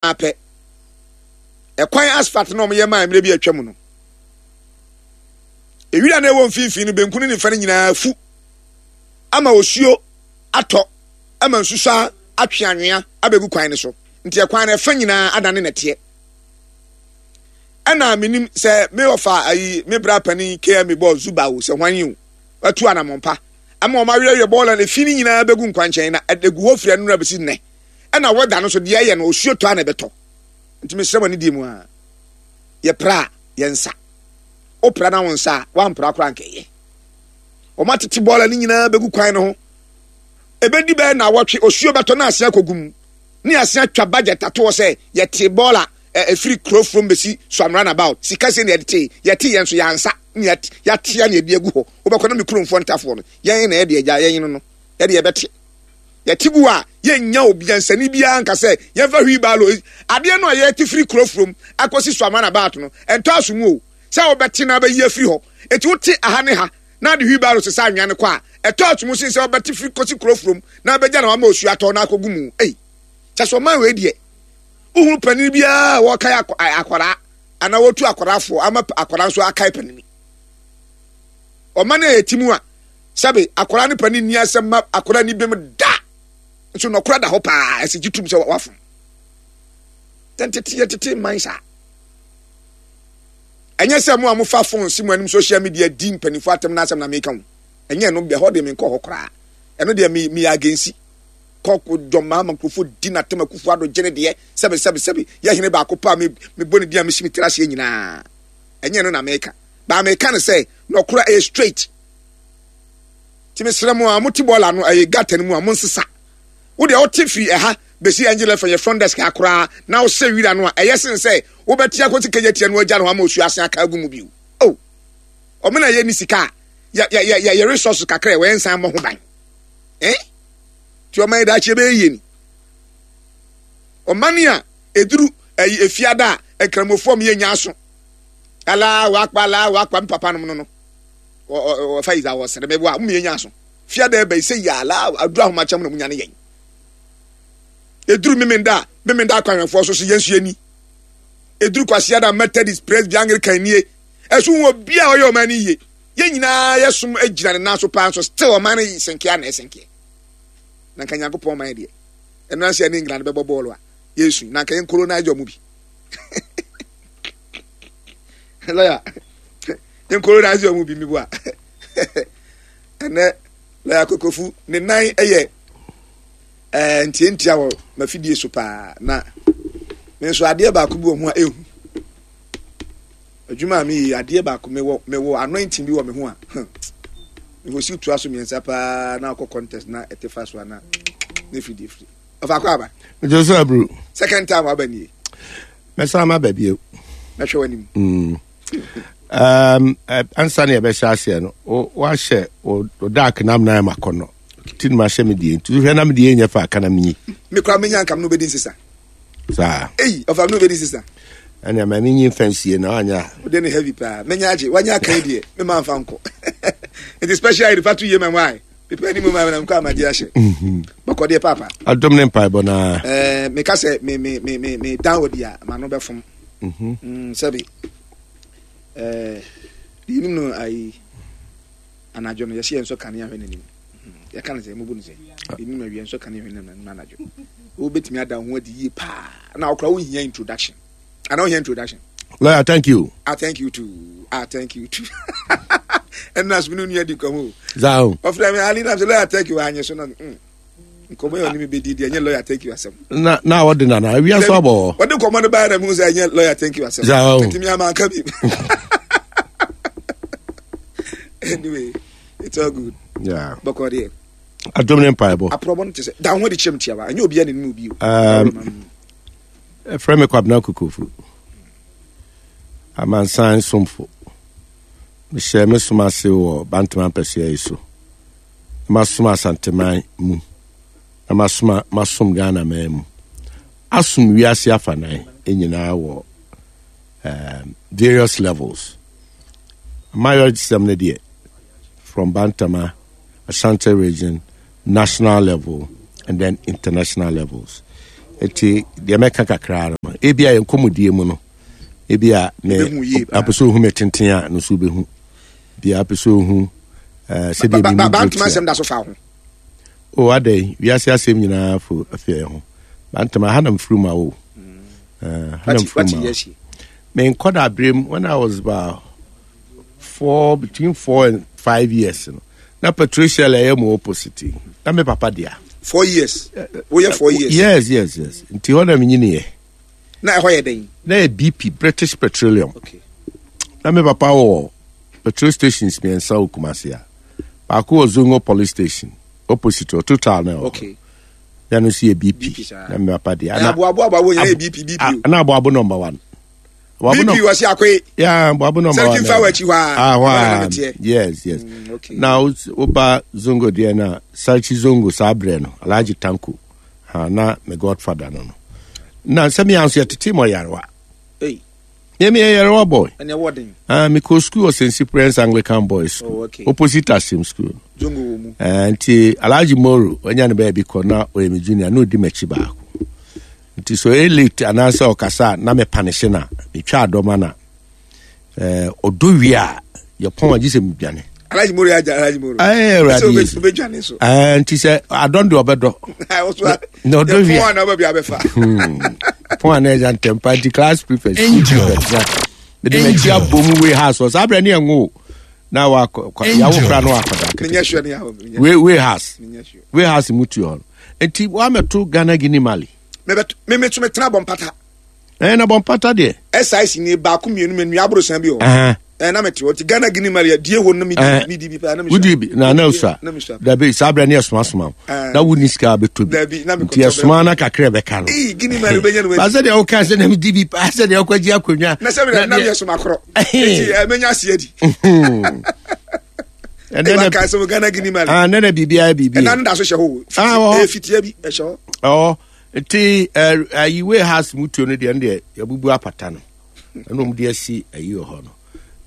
ara pɛ, ɛkwan asphalt na wɔyɛ maa mmerɛ bi atwa mu no, ewira na ɛwɔ mfimfini no benkum ne nifa no nyinaa fu ama osuo atɔ ama nsusuaa atwe anwea abɛgu kwan no so. Nti ɛkwan no ɛfa nyinaa adane nɛteɛ. Ɛna menim sɛ me ɔfa ayi me bra panin KME bɔɔ Zuba o sɛ hwan yi o watu anamɔn pa ama wɔn awerɛwerɛ bɔɔla no efi no nyinaa bɛgu nkwankyɛn na ɛgu hɔ firi ɛnora bɛsi nnɛ. Ɛna wɛda no so deɛ ɛyɛ no osuo tɔ a na ɛbɛtɔ. Nti mesrɛ mo anidie mu a yɛpra a yɛnsa. Wopra na wo nsa a woampra koraa anka ɛyɛ. Wɔn atete bɔɔla no nyinaa bɛgu kwan no ho. Ɛbɛdi bɛyɛ nnawɔtwe osuo bɛtɔ na ase akɔgu mu. Ne ase atwa budget atoɔ sɛ yɛte bɔɔla ɛfiri kuro from bɛsi Suam runabout. Sika sei na yɛde tee. Yɛte yɛn nso yɛansa ne yɛatea ne yɛde agu hɔ. Wobɛkɔ na me kuromfoɔ ntafoɔ no yɛn na yɛde agya yɛn no no yɛde yɛbɛte. Yɛte gu a yɛnnya obiansani biara nka sɛ yɛmfa wheelbarrow adeɛ no a yɛte firi kuro from akɔsi Suam runabout no ɛntɔ aso mu o sɛ wobɛte na abɛyi afiri hɔ. Enti wote aha ne ha na ade wheelbarrow sesa anwea no kɔ a, ɛtɔ aso mu sen sɛ wobɛte firi kɔsi kuro from na abɛgya na wama osuo atɔ na akɔgu mu. Ei, kyɛ sɛ ɔman wei deɛ, wohunu panin biara a wɔkae akwadaa anaa wɔtu akwadaa foɔ ama akwadaa nso akae panini. Ɔman a yɛte mu a, sɛbe akwadaa ne panin nni asɛm ma akwadaa ni bem da, nso nɔkora da hɔ paa, ɛsɛ gye tum sɛ wafom. Yɛntete yɛtete man saa. Ɛnyɛ sɛ mo a mofa phone si mo anim social media di mpanimfoɔ atɛm no asɛm na meka ho. Ɛnyɛ ɛno, ɛhɔ deɛ menkɔ hɔ koraa. Ɛno deɛ me meyɛ against. Kɔ dɔm maa ma nkurɔfoɔ di n'atɛm Akufo Addo gye ne deɛ sɛbe sɛbe sɛbe yɛ hene baako pɛ a me mebɔ ne din a mesi me tiri aseɛ nyinaa. Ɛnyɛ ɛno na meka. Baa meka no sɛ nɔkora ɛyɛ straight. Nti mesrɛ mo a mote bɔɔla no ɛyɛ gutter no mu a monsesa. Wo deɛ wote firi ɛha bɛsi Angel FM yɛ front desk ha koraa na wosɛ wira no a ɛyɛ sen sɛ wobɛte akɔsi kagya tia no agya no hɔ ama osuo asen aka agu mu bio. Oh, ɔmo na yɛnni sika a yɛ yɛ yɛ yɛ resources kakra ɛwɔ yɛn nsan mmɔ ho ban. Eh? Ti ɔman yi daakye ɛbɛyɛ yie ni. Ɔman a ɛduru ɛyi efiada a nkramofoɔ mo yɛ nya aso. Ala wakpa ala wakpa mpapa nom no no. Ɔfa yi za wɔsere meboa mo yɛ nya aso. Fiada ɛbɛ yi sɛ yɛ ala aduru ahomakyɛm na mo nya ne yɛn. Ɛduru memenda a memenda akwanhwɛfoɔ so so yɛn nso yɛni. Ɛduru Kwasiada Methodist Presby Anglican nie. Ɛso hu obi a ɔyɛ ɔman no yie. Yɛn nyinaa yɛsom gyina ne nan so paa nso still ɔman no senkeɛ na ɛsenkeɛ. Na nka Nyankopɔn man deɛ. Ɛno ansi ɛne England bɛbɔ bɔɔlo a yɛsu na nka yɛn colonize ɔmo bi. Lawyer, yɛn colonize ɔmo bi mibu a. Ɛnɛ lawyer Kokofu ne nan yɛ ɛɛ ntiantia wɔ mafidie so paa na me nso adeɛ baako bi wɔ ho a ehu adwuma a meyɛ adeɛ baako mewɔ mewɔ anointing bi wɔ me ho a mewɔ si toa so mmiɛnsa paa na akɔ contest na ɛte fa so ana ne firi deɛ firi ɔfa akɔ aba. Jose Abru. Second time aba nie. Mɛsan ma ba bio. Mɛhwɛ w'anim. Mm. Um, eh, ansa na yɛbɛhyɛ aseɛ no woahyɛ wo dark nam na ɛma kɔnnɔ ti no mahyɛ me deɛ nti wohwɛ na me deɛ nyɛ fa aka na menyi me kora menya nka me no wobɛdi nsesa saa ei ɔfa me no wobɛdi nsesa ɛnea ma menyi mfa nsie na wanyɛ a wode ne heavy paa menya agye wanya aka yi deɛ mema mfa nkɔ nti special aid fa to yie ma wae mepɛ anim ma na mekɔ amagye ahyɛ mhm. bɔkɔ deɛ papa adom ne mpaebɔ naa eh, meka sɛ me me me me me dan wɔ di a ma no bɛfom mhm. mm, sɛbe eh, deɛ nim no ayi anadwo no yɛhyɛ yɛn nso kanea hwɛ n'anim mhm. yɛka no sɛ mubu no sɛ yɛnim awia nso kanea hwɛ n'anim anadwo wobɛtumi ada ho adi yie paa na wokora wohia introduction ana wohia introduction. Lawyer, thank you. Ah, thank you too. Ah, thank you too. ɛnna so ne nua di nkɔmɔ o. Zao. Ɔfrɛ mi ali nam sɛ lawyer thank you anyɛ so na mm. Nkɔmɔ yɛ ɔne mi bɛ di di ɛnyɛ lawyer thank you asɛm. Na na ɔde nana awia so abɔ. Ɔde nkɔmɔ no baa na mi sɛ ɛnyɛ lawyer thank you asɛm. Zao. Nti mi ama nka bi. Anyway, it's all good. Yeah. Bɔkɔ deɛ. Adom ne mpaebɔ. Aporɔbɔ no te sɛ da ho de kyerɛ m tiawa ɛnyɛ obiara na nim obi o. Um, Ɛfrɛ me Kwabena Kokofu, amansan somfo. Mehyɛ me som ase wɔ Bantama mpɛsoa yi so. Na masom Asanteman mu. Na masoma masom Ghana man mu. Asom wiase afanan nyinaa wɔ um, various levels. Amayɔsɛm no deɛ, from Bantama, Ashanti region, national level, and then international levels. Eti deɛ mɛka kakra no. Ebi a yɛn nkɔmmɔdie mu no, ebi a me apɛ sɛ ohu me tenten a, no so wobɛhu. Bi a apɛ sɛ ohu eh, sɛdeɛ bi mu duro asɛm da so fa ho. O adɛn, wiase asɛm nyinaa fo afei ho. Bantama ha na mfiri mu awo. Mm. Eh, ha na mfiri mu awo. Me nkɔda berem when I was about 4, between 4 and 5 years no, na Patricia la ɛyɛ mo opposite na me papa dea. 4 years, woyɛ 4 years? Yes, nti hɔ na menyiniɛ. Na ɛhɔ yɛ dɛn? Na yɛ BP, British Petroleum. Na me papa wɔ petrol stations mmiɛnsa wɔ Kumasi a baako wɔ Zongo police station opposite wɔ Total na ɛwɔ na no nso yɛ BP na me papa dea. Na aboabo nyɛ BP BP. Na aboabo number one. BP wɔ se akoe. Yeah, Boabo number one. Sɛ fa w'akyi hɔ a. Ah, hɔ a. Yes. Okay. Na woba Zongo deɛ na Sarchi Zongo saa berɛ no, Alhaji Tanko. Ha na me godfather no no. Na sɛ me anso yɛtete mɔ yarewa. Hey. Me me yarewa boy. Ɛne ɛwɔ den. Ah, me kɔ school wɔ St. Cyprian's Anglican Boys School. Oh, okay. Opposite Asim School. Zongo wɔ mu. Eh, nti Alhaji Moro, wanya ne baabi kɔ na ɔyɛ me junior na ɔdi m'akyi baako. Nti sɛ ɔyɛ late anaasɛ ɔkasa a na me panehye no a, metwa adɔma no a, eh, ɔdɔ wie a, yɛpɔn a gye sɛ medwane. Alhaji Moro agya Alhaji Moro. Ɛɛ Awurade Yesu. Obedwane so. Ɛɛ nti sɛ adɔn de ɔbɛdɔ. Na ɔdɔ wie. Pɔn a na ɔbɛbi abɛfa. Pɔn a na ɛgya ntɛmpa nti class prefect. Angel. Mede m'akyi abɔ mu wei ha so saa berɛ ne ɛnwo na wakɔ yawo kora na wakɔda kete. Wei wei house. Wei house mu tu hɔ no. Nti woamɛto Ghana Guinea Mali. Mebɛto metena bɔ mpata. Ɛɛ na bɔ mpata deɛ. SIC ni baako mmienu mmienu nua aborosan bi wɔ hɔ. Ɛɛ na mete hɔ ti Ghana Guinea Mali die hɔ na mi di mi di bi paa na mi sua. Wodi bi na na osua. Dabi saa abirɛ ne ɛsoma soma o. Na wo ni sika abɛtɔ bi. Dabi na mi kɔtɔ. Nti ɛsoma na kakra ɛbɛka no. Ee Guinea Mali bɛ nyɛ no. Baasa deɛ ɔka sɛ na mi di bi paa sɛ deɛ ɔkɔ gye akonnwa. Na sɛ mi na mi yɛ soma korɔ. Eti ɛmɛ nya aseɛ di. Ɛnɛ na ka sɛ Ghana Guinea Mali. Ah nɛ na biribi ayɛ biribi. Ɛna no da so hyɛ hɔ. Ah wɔ hɔ. Fitia bi ɛhyɛ hɔ. Ɔwɔ nti ayi wei house mu tuo no deɛ no deɛ yɛbubu apata no ɛna wɔn de asi ayi wɔ hɔ no.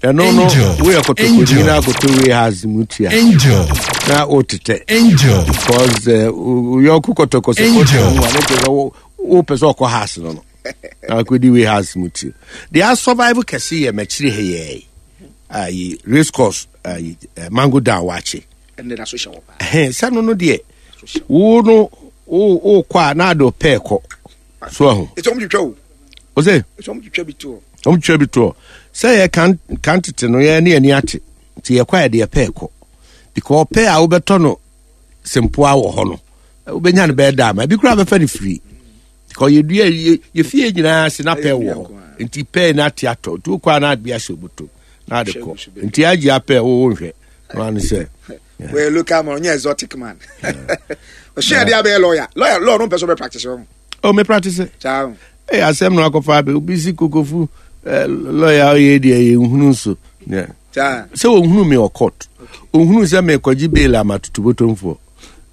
Ɛno no woyɛ kɔtɔkɔni na akɔtɔ wei house mu tua. Angel. Na wotetɛ. Angel. Because woyɔnko kɔtɔkɔ sɛ kɔtɔ mu a ne kyerɛ sɛ wopɛ sɛ ɔkɔ house no no. Na akɔdi wei house mu tuo. Deɛ asurvive kɛse yɛ m'akyiri ha yɛɛ. Ayi race course ayi mango down wakye. Ɛnna da so hyɛ wɔ paa. Ɛhɛn sɛ no no deɛ wo no wo wo kɔ a na ade pɛɛ kɔ so ahu. Ètò ɔmo twitwa o. O sɛ. Ètò ɔmo twitwa bi to. Ɔmo twitwa bi to sɛ yɛ kan kan tete no yɛ ne yɛ ni ate nti yɛ kɔ a yɛde yɛ pɛɛ kɔ because pɛɛ a wobɛtɔ no sempoa wɔ hɔ no wobɛnya no bɛyɛ daa ma ebi koraa bɛfɛ no firi. Because yɛdua yɛ yɛ fie nyinaa se na pɛɛ wɔ hɔ nti pɛɛ no ate atɔ nti wokɔ a na ade ahyɛ obotom na ade kɔ nti agye apɛɛ wo nhwɛ no ano sɛ. Wɔyɛ local man ɔnyɛ exotic man ɔhyɛ adeɛ abɛyɛ lawyer lawyer law no mpɛ sɛ ɔbɛ practice ɔho. Oh me practice. Saa. Ee asɛm no akɔfa abɛ obi si kokofu eh, lawyer ɔyɛ deɛ yɛ nhunu nso. Sɛ wɔhunu me wɔ court ohunu sɛ mekɔgye bail ama tutubotomfoɔ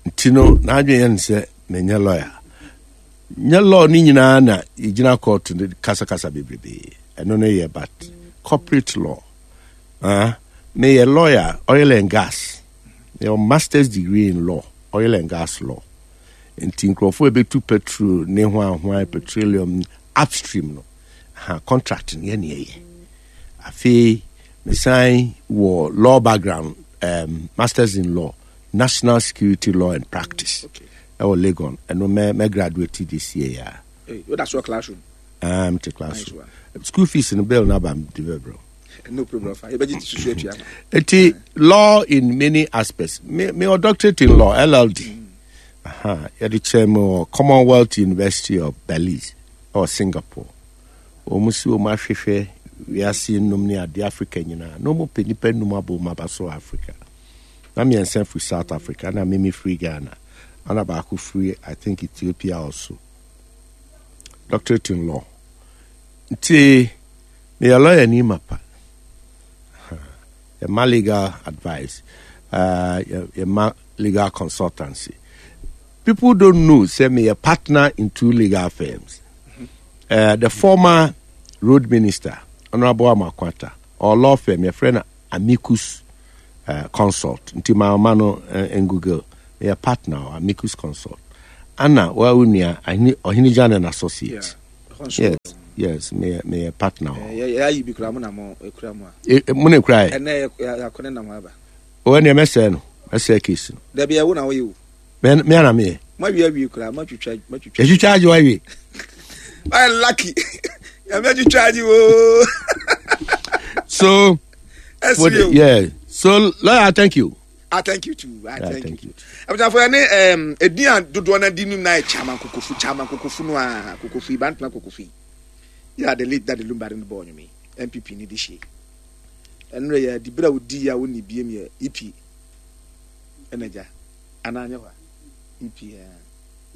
nti no n'adwene yɛ no sɛ menyɛ lawyer. Nyɛ law no nyinaa na yɛgyina court no kasakasa bebrebe. Ɛno no yɛ but corporate law. Ah, meyɛ lawyer oil and gas. Meyɛ master's degree in law, oil and gas law. Nti nkurɔfoɔ ɛbɛtu petrol ne ho ahoa petroleum upstream no. Ha, contract no yɛ ne ɛyɛ. Afei mesan wɔ law background, masters in law, national security law and practice. Okay. Ɛwɔ Legon. Ɛno mɛ mɛ graduate this year ya. Hey, wo da so classroom? Ah, mte classroom. Nice School fees no bill na ba de bɛbrɛ. No problem. Fa. Yɛbɛgye ti susu atua. Eti law in many aspects. Me me wɔ doctorate in law, LLD. Aha, yɛde kyerɛ me wɔ Commonwealth University of Belize ɛwɔ Singapore. Wɔn si wɔn ahwehwɛ wiase nnum ne ade Africa nyinaa. Na wɔn pɛ nipa nnum abɔ wɔn aba so Africa. Na mmiɛnsa firi South Africa na mimi firi Ghana. Ana baako firi I think Ethiopia also. Doctorate in law. Nti meyɛ lawyer ni mapa. Yɛma legal advice. Yɛma legal consultancy. People don't know say me a partner in two legal firms. The former road minister, Honorable Amakwata, or law firm, your friend Amicus Consult. Nti ma ma no Google. Me a partner Amicus Consult. Anna wa unia Ohini Jan and Associates. Yeah. Yes, yes, meyɛ meyɛ partner hɔ. Yɛ ayi bi kura mo na mo ekura mu a. E, e, mo na ekura yɛ. Ɛnɛ yɛ akɔ ne nam aba. O ɛnna mɛsɛɛ no, mɛsɛɛ case no. Dabi ɛwo na woyɛ o. Mɛ mɛ na meyɛ. Mo awie awie kura, mo atwitwa, mo atwitwa. Yɛtwitwa agye wawie. Ayɛ lucky. Nyame atwitwa agye o. So. Ɛsi o. Yeah. So lawyer, thank you. Ah, thank you too. Ah, thank, thank you. Abusuafo yɛ ne edin a dodoɔ no adi no na yɛ Chairman Kokofu, Chairman Kokofu no a Kokofu yi, Bantama Kokofu yi. Yɛ a the late Daddy Lumba no bɔɔ nnwom yi, NPP ne de hyie. Ɛnora yɛ adi berɛ a wodi yi a wonni biem yɛ EP ɛna gya anaa nyɛ hɔ a EP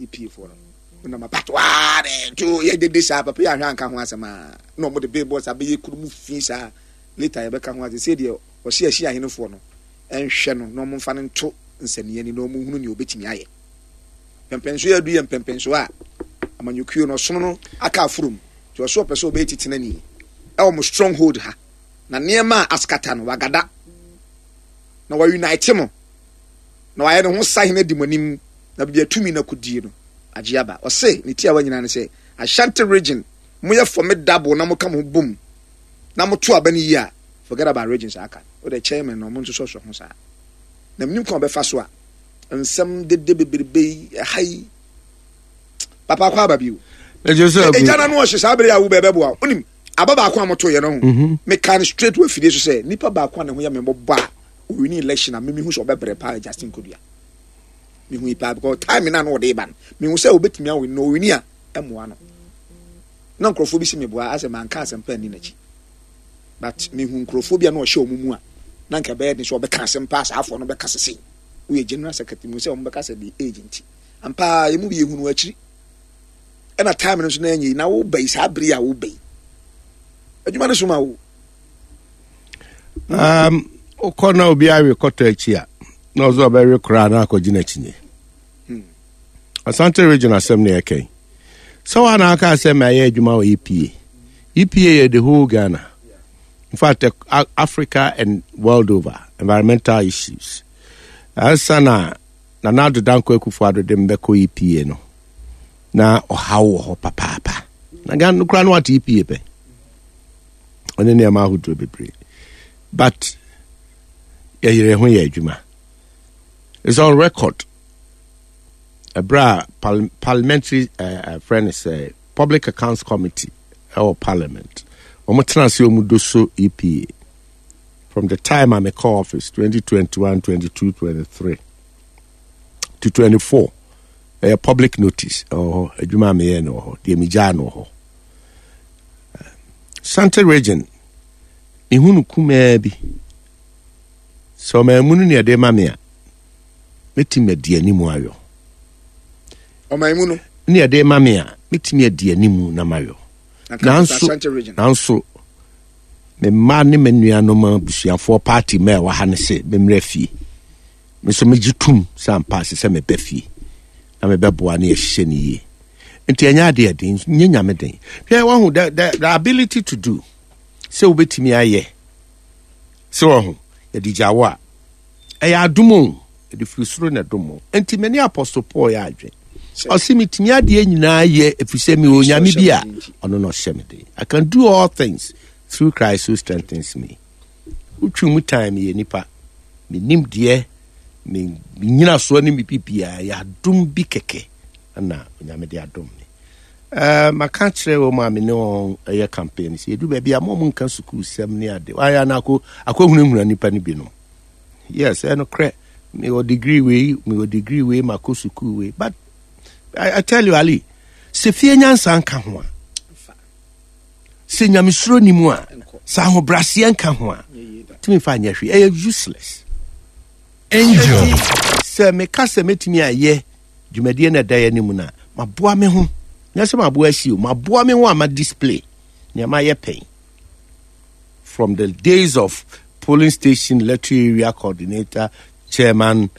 EP foɔ no wonam apatoa de to yɛ dede saa papa yɛ ahwɛ anka ho asɛm a na wɔn de billboard saa bɛyɛ kuro mu fi saa later yɛbɛka ho asɛm sɛ deɛ ɔsi ahyi ahenefoɔ no nhwɛ no na wɔmfa no nto nsania ani na wɔnhunu nea obetumi ayɛ. Mpɛmpɛnsoɔ a adu yɛ mpɛmpɛnsoɔ a amanyɔkuo no ɔsono no aka aforom nti ɔso ɔpɛ sɛ ɔbɛyɛ titenani ɛwɔ mo stronghold ha na nneɛma a askata no wagada na wa unite mo na wayɛ ne ho sahene adi mo anim na baabi atumi no akɔdie no agye aba. Ɔse ne tiawa nyinaa ne sɛ Ashanti region moyɛ formidable na moka mo ho bom na moto aba no yie a forget about regions aka wo de chairman na ɔmo nso sɔsɔ ho saa na menim kwan ɔbɛfa so a nsɛm dede bebrebe yi ɛha yi papa akɔ aba bio ɛgya na no ɔhye saa bere a wo bɛbɛboa wonim aba baako a moto yɛ no ho mhm. meka no straight wɔ afidie so sɛ nipa baako a ne ho yɛ me mmɔbɔ a owini election a memehu sɛ ɔbɛbrɛ paa Justin Kodua mehu yi paa because time na no ɔde ba no mehu sɛ obɛtumi awini na owini a ɛmmoa no na nkurɔfoɔ bi si meboa asɛ manka asɛmpa anni n'akyi but mehu nkurɔfoɔ bi a na ɔhyɛ wɔn mu a na nka ɛbɛyɛ den sɛ ɔbɛka asɛm paa saa afoɔ no bɛka sese woyɛ general secretary mu sɛ wɔn bɛka sɛ the age nti ampa yɛ mu bi yɛhunu akyiri ɛna time no nso na ɛnyɛ yi na woba yi saa bere a woba yi adwuma no so ma wo wokɔ na obi awe kɔtɔ akyi a na ɔsɛ ɔbɛwe koraa na akɔgye n'akyinnye hmm. Asante region asɛm na yɛka yi. Sɛ wa na aka sɛ mayɛ adwuma wɔ EPA. EPA yɛ the whole Ghana. In fact, Africa and world over, environmental issues. Ansa na Nana Addo Dankwa Akufo-Addo de mbɛkɔ EPA no, na ɔhaw wɔ hɔ papaapa. Na Ghana no koraa no wate EPA pɛ. Ɔne nneɛma ahodoɔ bebree. But yɛyere ho yɛ adwuma. It's on record. Ɛberɛ a parliamentary frɛ no sɛ public accounts committee ɛwɔ parliament wɔn tena ase wɔn do so EPA from the time a mekɔ office 2021 22 23 to 24 ɛyɛ public notice ɛwɔ hɔ adwuma a meyɛ no wɔ hɔ deɛ megyaa no wɔ hɔ Sante region mehu no kumaa bi sɛ ɔman mu no ne ɛde ma me a mɛtumi adi anim ayɔ. Ɔman mu no. Ne ɛde ma me a, mɛtumi adi anim na mayɔ. Nanso, nanso, me mma ne me nuanom abusuafoɔ party ma ɛwɔ ha no sɛ memmrɛ fie. Me nso megye tom sɛ ampa ase sɛ meba fie na mebɛboa ne yɛhyehyɛ no yie. Nti ɛnyɛ adeɛ den, nyɛ nyame den. Hwɛ wahu the, the, the ability to do sɛ wobɛtumi ayɛ sɛ wahu yɛde gya wo a Ɛyɛ adom o, ɛde firi soro na ɛdom mo. Enti me ne Apostle Paul yɛ adwen. Ɔse metumi adeɛ nyinaa yɛ ɛfiri sɛ mewɔ Onyame bi a ɔno na ɔhyɛ me den. I can do all things through Christ who strengthens me. Wotwi mu tan meyɛ nipa. Menim deɛ me nyinasoɔ ne me bibiaa yɛ adom bi kɛkɛ na Onyame de adom me. Uh, maka kyerɛ wɔn a me ne wɔn yɛ campaign sɛ yɛdu baabi a mo nka sukuu sɛm ne ade wayɛ na akɔ akɔhunahuna nnipa no binom yes ɛnokorɛ mewɔ degree wei mewɔ degree wei makɔ sukuu wei but I, I tell you Ali sɛ fie nyansa nka ho a sɛ nyamesuro ni mu a sɛ ahobraseɛ nka ho a tumi fa nyɛ hwee ɛyɛ useless Angel. Sɛ meka sɛ mɛtumi ayɛ dwumadie no ɛda yɛ anim no a, maboa me ho. Nyɛ sɛ maboa asi o, maboa me ho a ma display nea mayɛ pɛn. From the days of polling station electoral area coordinator, chairman,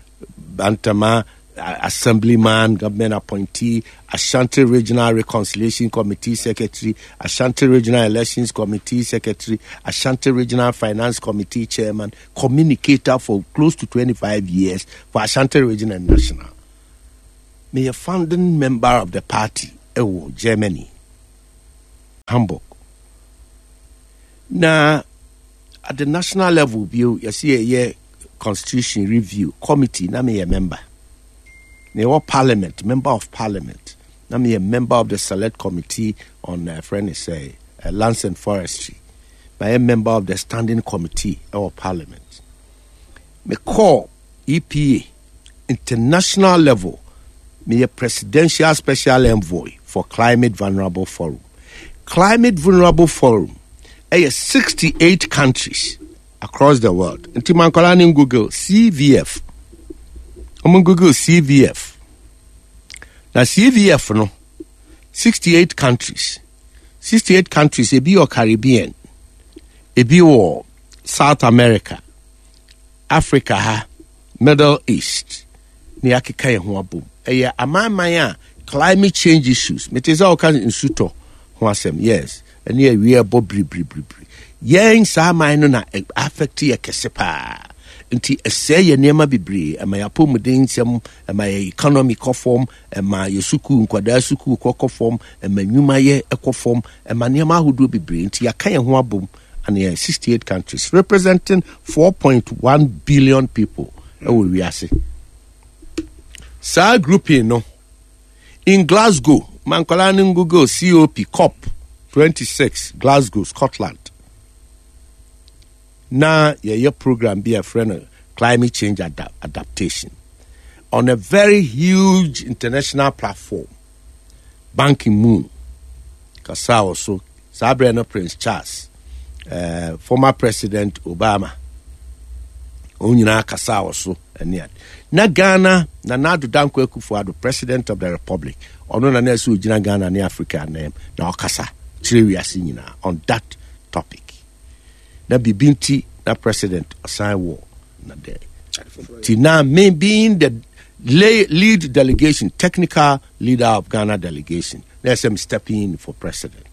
Bantama, assemblyman, government appointee, Ashanti Regional Reconciliation Committee Secretary, Ashanti Regional Elections Committee Secretary, Ashanti Regional Finance Committee Chairman, communicator for close to 25 years for Ashanti Region and National. Me a founding member of the party ɛwɔ Germany. Hamburg. Na at the national level bio yɛsɛ yɛyɛ constitution review committee na meyɛ member. Na yɛwɔ parliament, member of parliament. Na meyɛ member of the select committee on uh, friend sɛ uh, lands and forestry. Mayɛ member of the standing committee ɛwɔ parliament. Mekɔɔ EPA international level, meyɛ presidential special envoy for climate vulnerable forum. Climate vulnerable forum ɛyɛ 68 countries across the world. Nti mankɔla ne Google CVF. Wɔn Google CVF. Na CVF no 68 countries. 68 countries ebi wɔ Caribbean, ebi wɔ South America, Africa ha, Middle East na yɛakeka yɛn ho abom. Ɛyɛ amanaman a climate change issues, mete sɛ wɔka nsutɔ ho asɛm, yes, ɛne awia ɛbɔ biribiribiribiri. Yɛn saa aman no na affect yɛ kɛse paa. Nti ɛsɛe yɛ nneɛma bebree, ɛma yɛ apɔmuden nsɛm, ɛma yɛ economy kɔ fam, ɛma yɛ sukuu, nkwadaa sukuu kɔ kɔ fam, ɛma nnwumayɛ kɔ fam, ɛma nneɛma ahodoɔ bebree. Nti yɛaka yɛn ho abom and yɛ 68 countries representing 4.1 billion people ɛwɔ wiase. Saa grouping no in Glasgow, mankɔla no Google COP COP 26 Glasgow, Scotland. Na yɛyɛ program bi a yɛfrɛ no climate change adaptation on a very huge international platform. Ban Ki-moon kasaa wɔ so. Saa berɛ no Prince Charles, former President Obama, wɔn nyinaa kasaa wɔ so ɛne ade. Na Ghana, Nana Addo Dankwa Akufo-Addo, President of the Republic, ɔno na na ɛsɛ ogyina Ghana ne Africa anan na ɔkasa kyerɛ wiase nyinaa on that topic. Na biribi nti na President ɔsan wɔ na dɛ. Ti na me being the lead delegation, technical leader of Ghana delegation, na ɛsɛ me stepping in for president.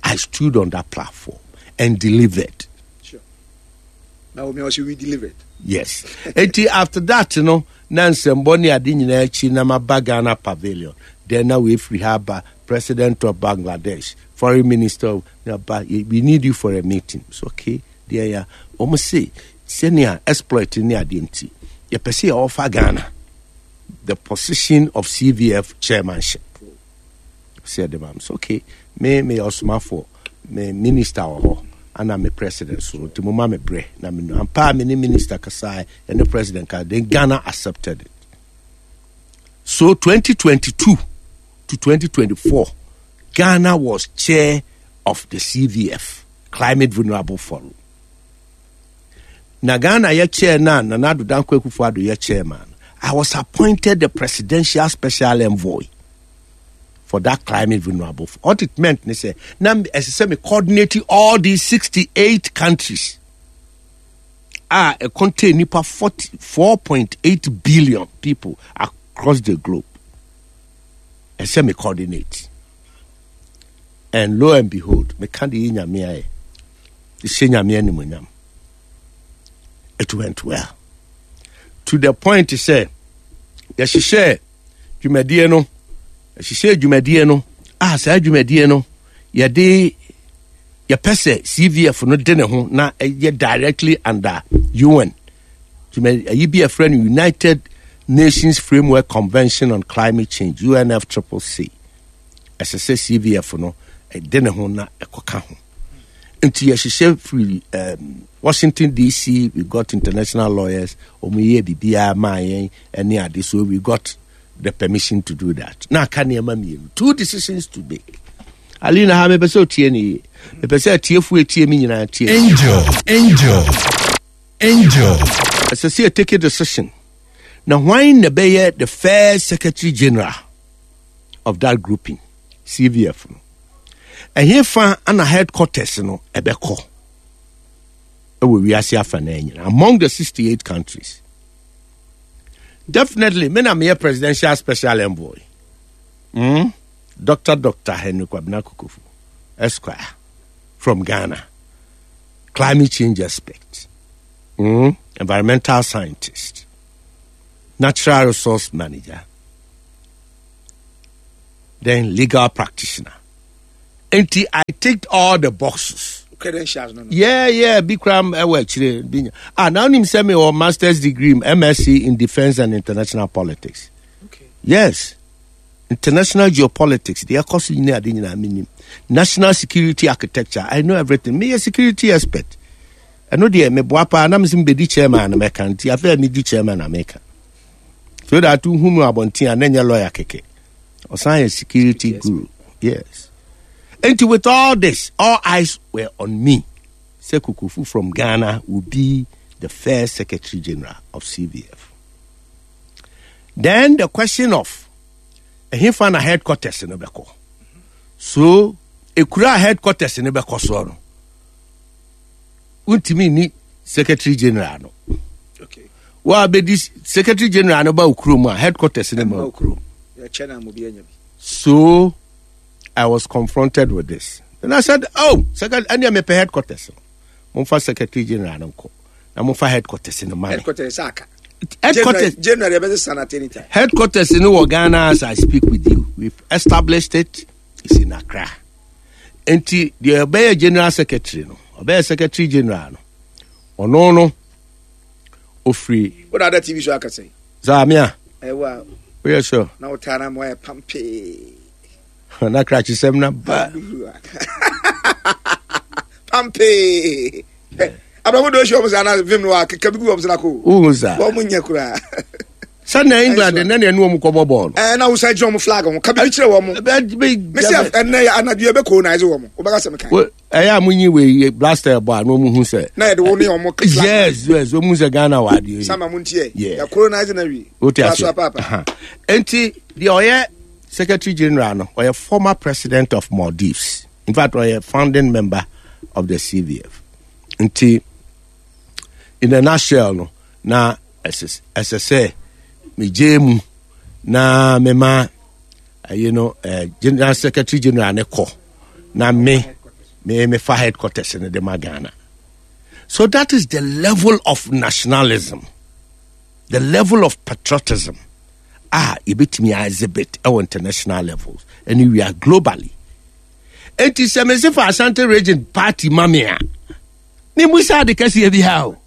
I stood on that platform and delivered. Sure. Now we also we delivered. Yes. Eti after that, you know, na nsɛmbɔ ne ade nyinaa akyi na maba Ghana pavilion. Then na we free ha ba president of Bangladesh, foreign minister of na ba we need you for a meeting. So okay, there ya. Wɔn se sɛnea exploit ne adeɛ nti yɛpɛ sɛ yɛwɔfa Ghana the position of CVF chairmanship. Sɛ yɛde ma so okay, me meyɛ ɔsomafoɔ, me minister wɔ hɔ ana me president so nti mo ma me brɛ na me nu ampa a me ne minister kasae ɛne president ka then Ghana accepted it. So 2022 to 2024 Ghana was chair of the CVF Climate Vulnerable Forum. Na Ghana yɛ chair na Nana Addo Dankwa Akufo-Addo yɛ chairman. I was appointed the presidential special envoy for that climate vulnerable. What it meant ne sɛ na ɛsɛ sɛ me coordinate all these 68 countries a ɛ contain nipa 4.8 billion people across the globe. Ɛsɛ me coordinate. And lo and behold, meka de yi nyame ayɛ. Hyɛ nyame animuonyam. It went well. To the point sɛ yɛhyehyɛ dwumadie no yɛhyehyɛ dwumadie no a saa dwumadie no yɛde yɛpɛ sɛ CVF no de ne ho na ɛyɛ directly under UN dwumadie ayi bi a yɛfrɛ no United Nations Framework Convention on Climate Change UNFCCC ɛsɛ sɛ CVF no ɛde ne ho na ɛkɔka ho nti yɛhyehyɛ firi um, Washington DC we got international lawyers wɔn yɛ biribiara maa yɛn ɛne ade so we got the permission to do that na aka nneɛma mmienu two decisions to make alina ha mepɛ sɛ otie ne yie mepɛ sɛ atiefo etie mi nyinaa tie Angel, angel, angel. Ɛsɛ sɛ yɛ take a decision na hwan na ɛbɛyɛ the first secretary general of that grouping CVF no ɛhefa ana headquarters no ɛbɛkɔ ɛwɔ wiase afa na nyina among the 68 countries definitely me na meyɛ presidential special envoy mm? Dr. Dr. Henry Kwabena Kokofu Esquire from Ghana climate change expert mm? environmental scientist natural resource manager then legal practitioner. Nti I ticked all the boxes. Credentials no no. Yeah, bi kura ɛwɔ akyire bi nya. Ah, na onim sɛ me wɔ masters degree MSc in defence and international politics. Okay. Yes. International geopolitics, deɛ ɛkɔ so nyina ade nyinaa menim. National security architecture, I know everything. Meyɛ security expert. Ɛno deɛ meboa paa na mesɛ mebɛdi chairman na mɛka nti afei a medi chairman na meka. So that wohu mu abɔnten a na ɛnyɛ lawyer kɛkɛ. Ɔsan yɛ security guru. Yes. Nti with all this, all eyes were on me. Sɛ Kokofu from Ghana will be the first secretary general of CVF. Then the question of ɛhefa na headquarters no bɛkɔ. So ekura headquarters no bɛkɔ soɔ no, wontumi ni secretary general no. Okay. Wa bɛdi secretary general no ba okurom a headquarters no ma okurom. So I was confronted with this. Then I said, oh, secretary, ɛnna mepɛ headquarters no. Momfa secretary general no nkɔ. Na momfa headquarters no ma me. Headquarters aka. Headquarters. January ɛbɛsɛ san at any time. Headquarters no wɔ Ghana as I speak with you. We've established it. It's in Accra. Nti deɛ ɔbɛyɛ general secretary no, ɔbɛyɛ secretary general no, ɔno no, ofiri. Wo na ada TV so akasa yi. Zaamia. Ɛwɔ a. Woyɛ sure. Na wo taa na mo ayɛ pampee. Na krakyesɛm na ba. Pampee. Abraham do ehyia wɔn sɛ ana vim no wa keka bi gu wɔn sɛ na ko. Wohu saa. Wɔn nyɛ koraa. Sɛ na England ne na ɛne wɔn kɔbɔ bɔɔl. Ɛɛ na wosan gyina wɔn flag ho ka bi kyerɛ wɔn. Mesi ɛnɛ anadwo yɛ bɛ colonize wɔn. Wobɛka sɛ meka. Ɛyɛ a monyi wei blaster bɔ a na wɔn hu sɛ. Na yɛde wo ne wɔn flag. Yes yes wɔn hu sɛ Ghana wɔ adeɛ yi. Sama mo ntiɛ. Yɛ colonize na wie. O ti ase. Nti deɛ ɔyɛ secretary general no ɔyɛ former president of Maldives. In fact ɔyɛ founding member of the CVF. Nti in a nutshell no na ɛsɛ sɛ megye mu na mema ɛyi no eh, general secretary general ne kɔ na me me mefa headquarters no de ma Ghana. So that is the level of nationalism, the level of patriotism a yɛbɛtumi exhibit ɛwɔ international levels and we are globally. Enti sɛ mese fa Ashanti region party ma me a, memusa ade kɛseɛ bi ha o.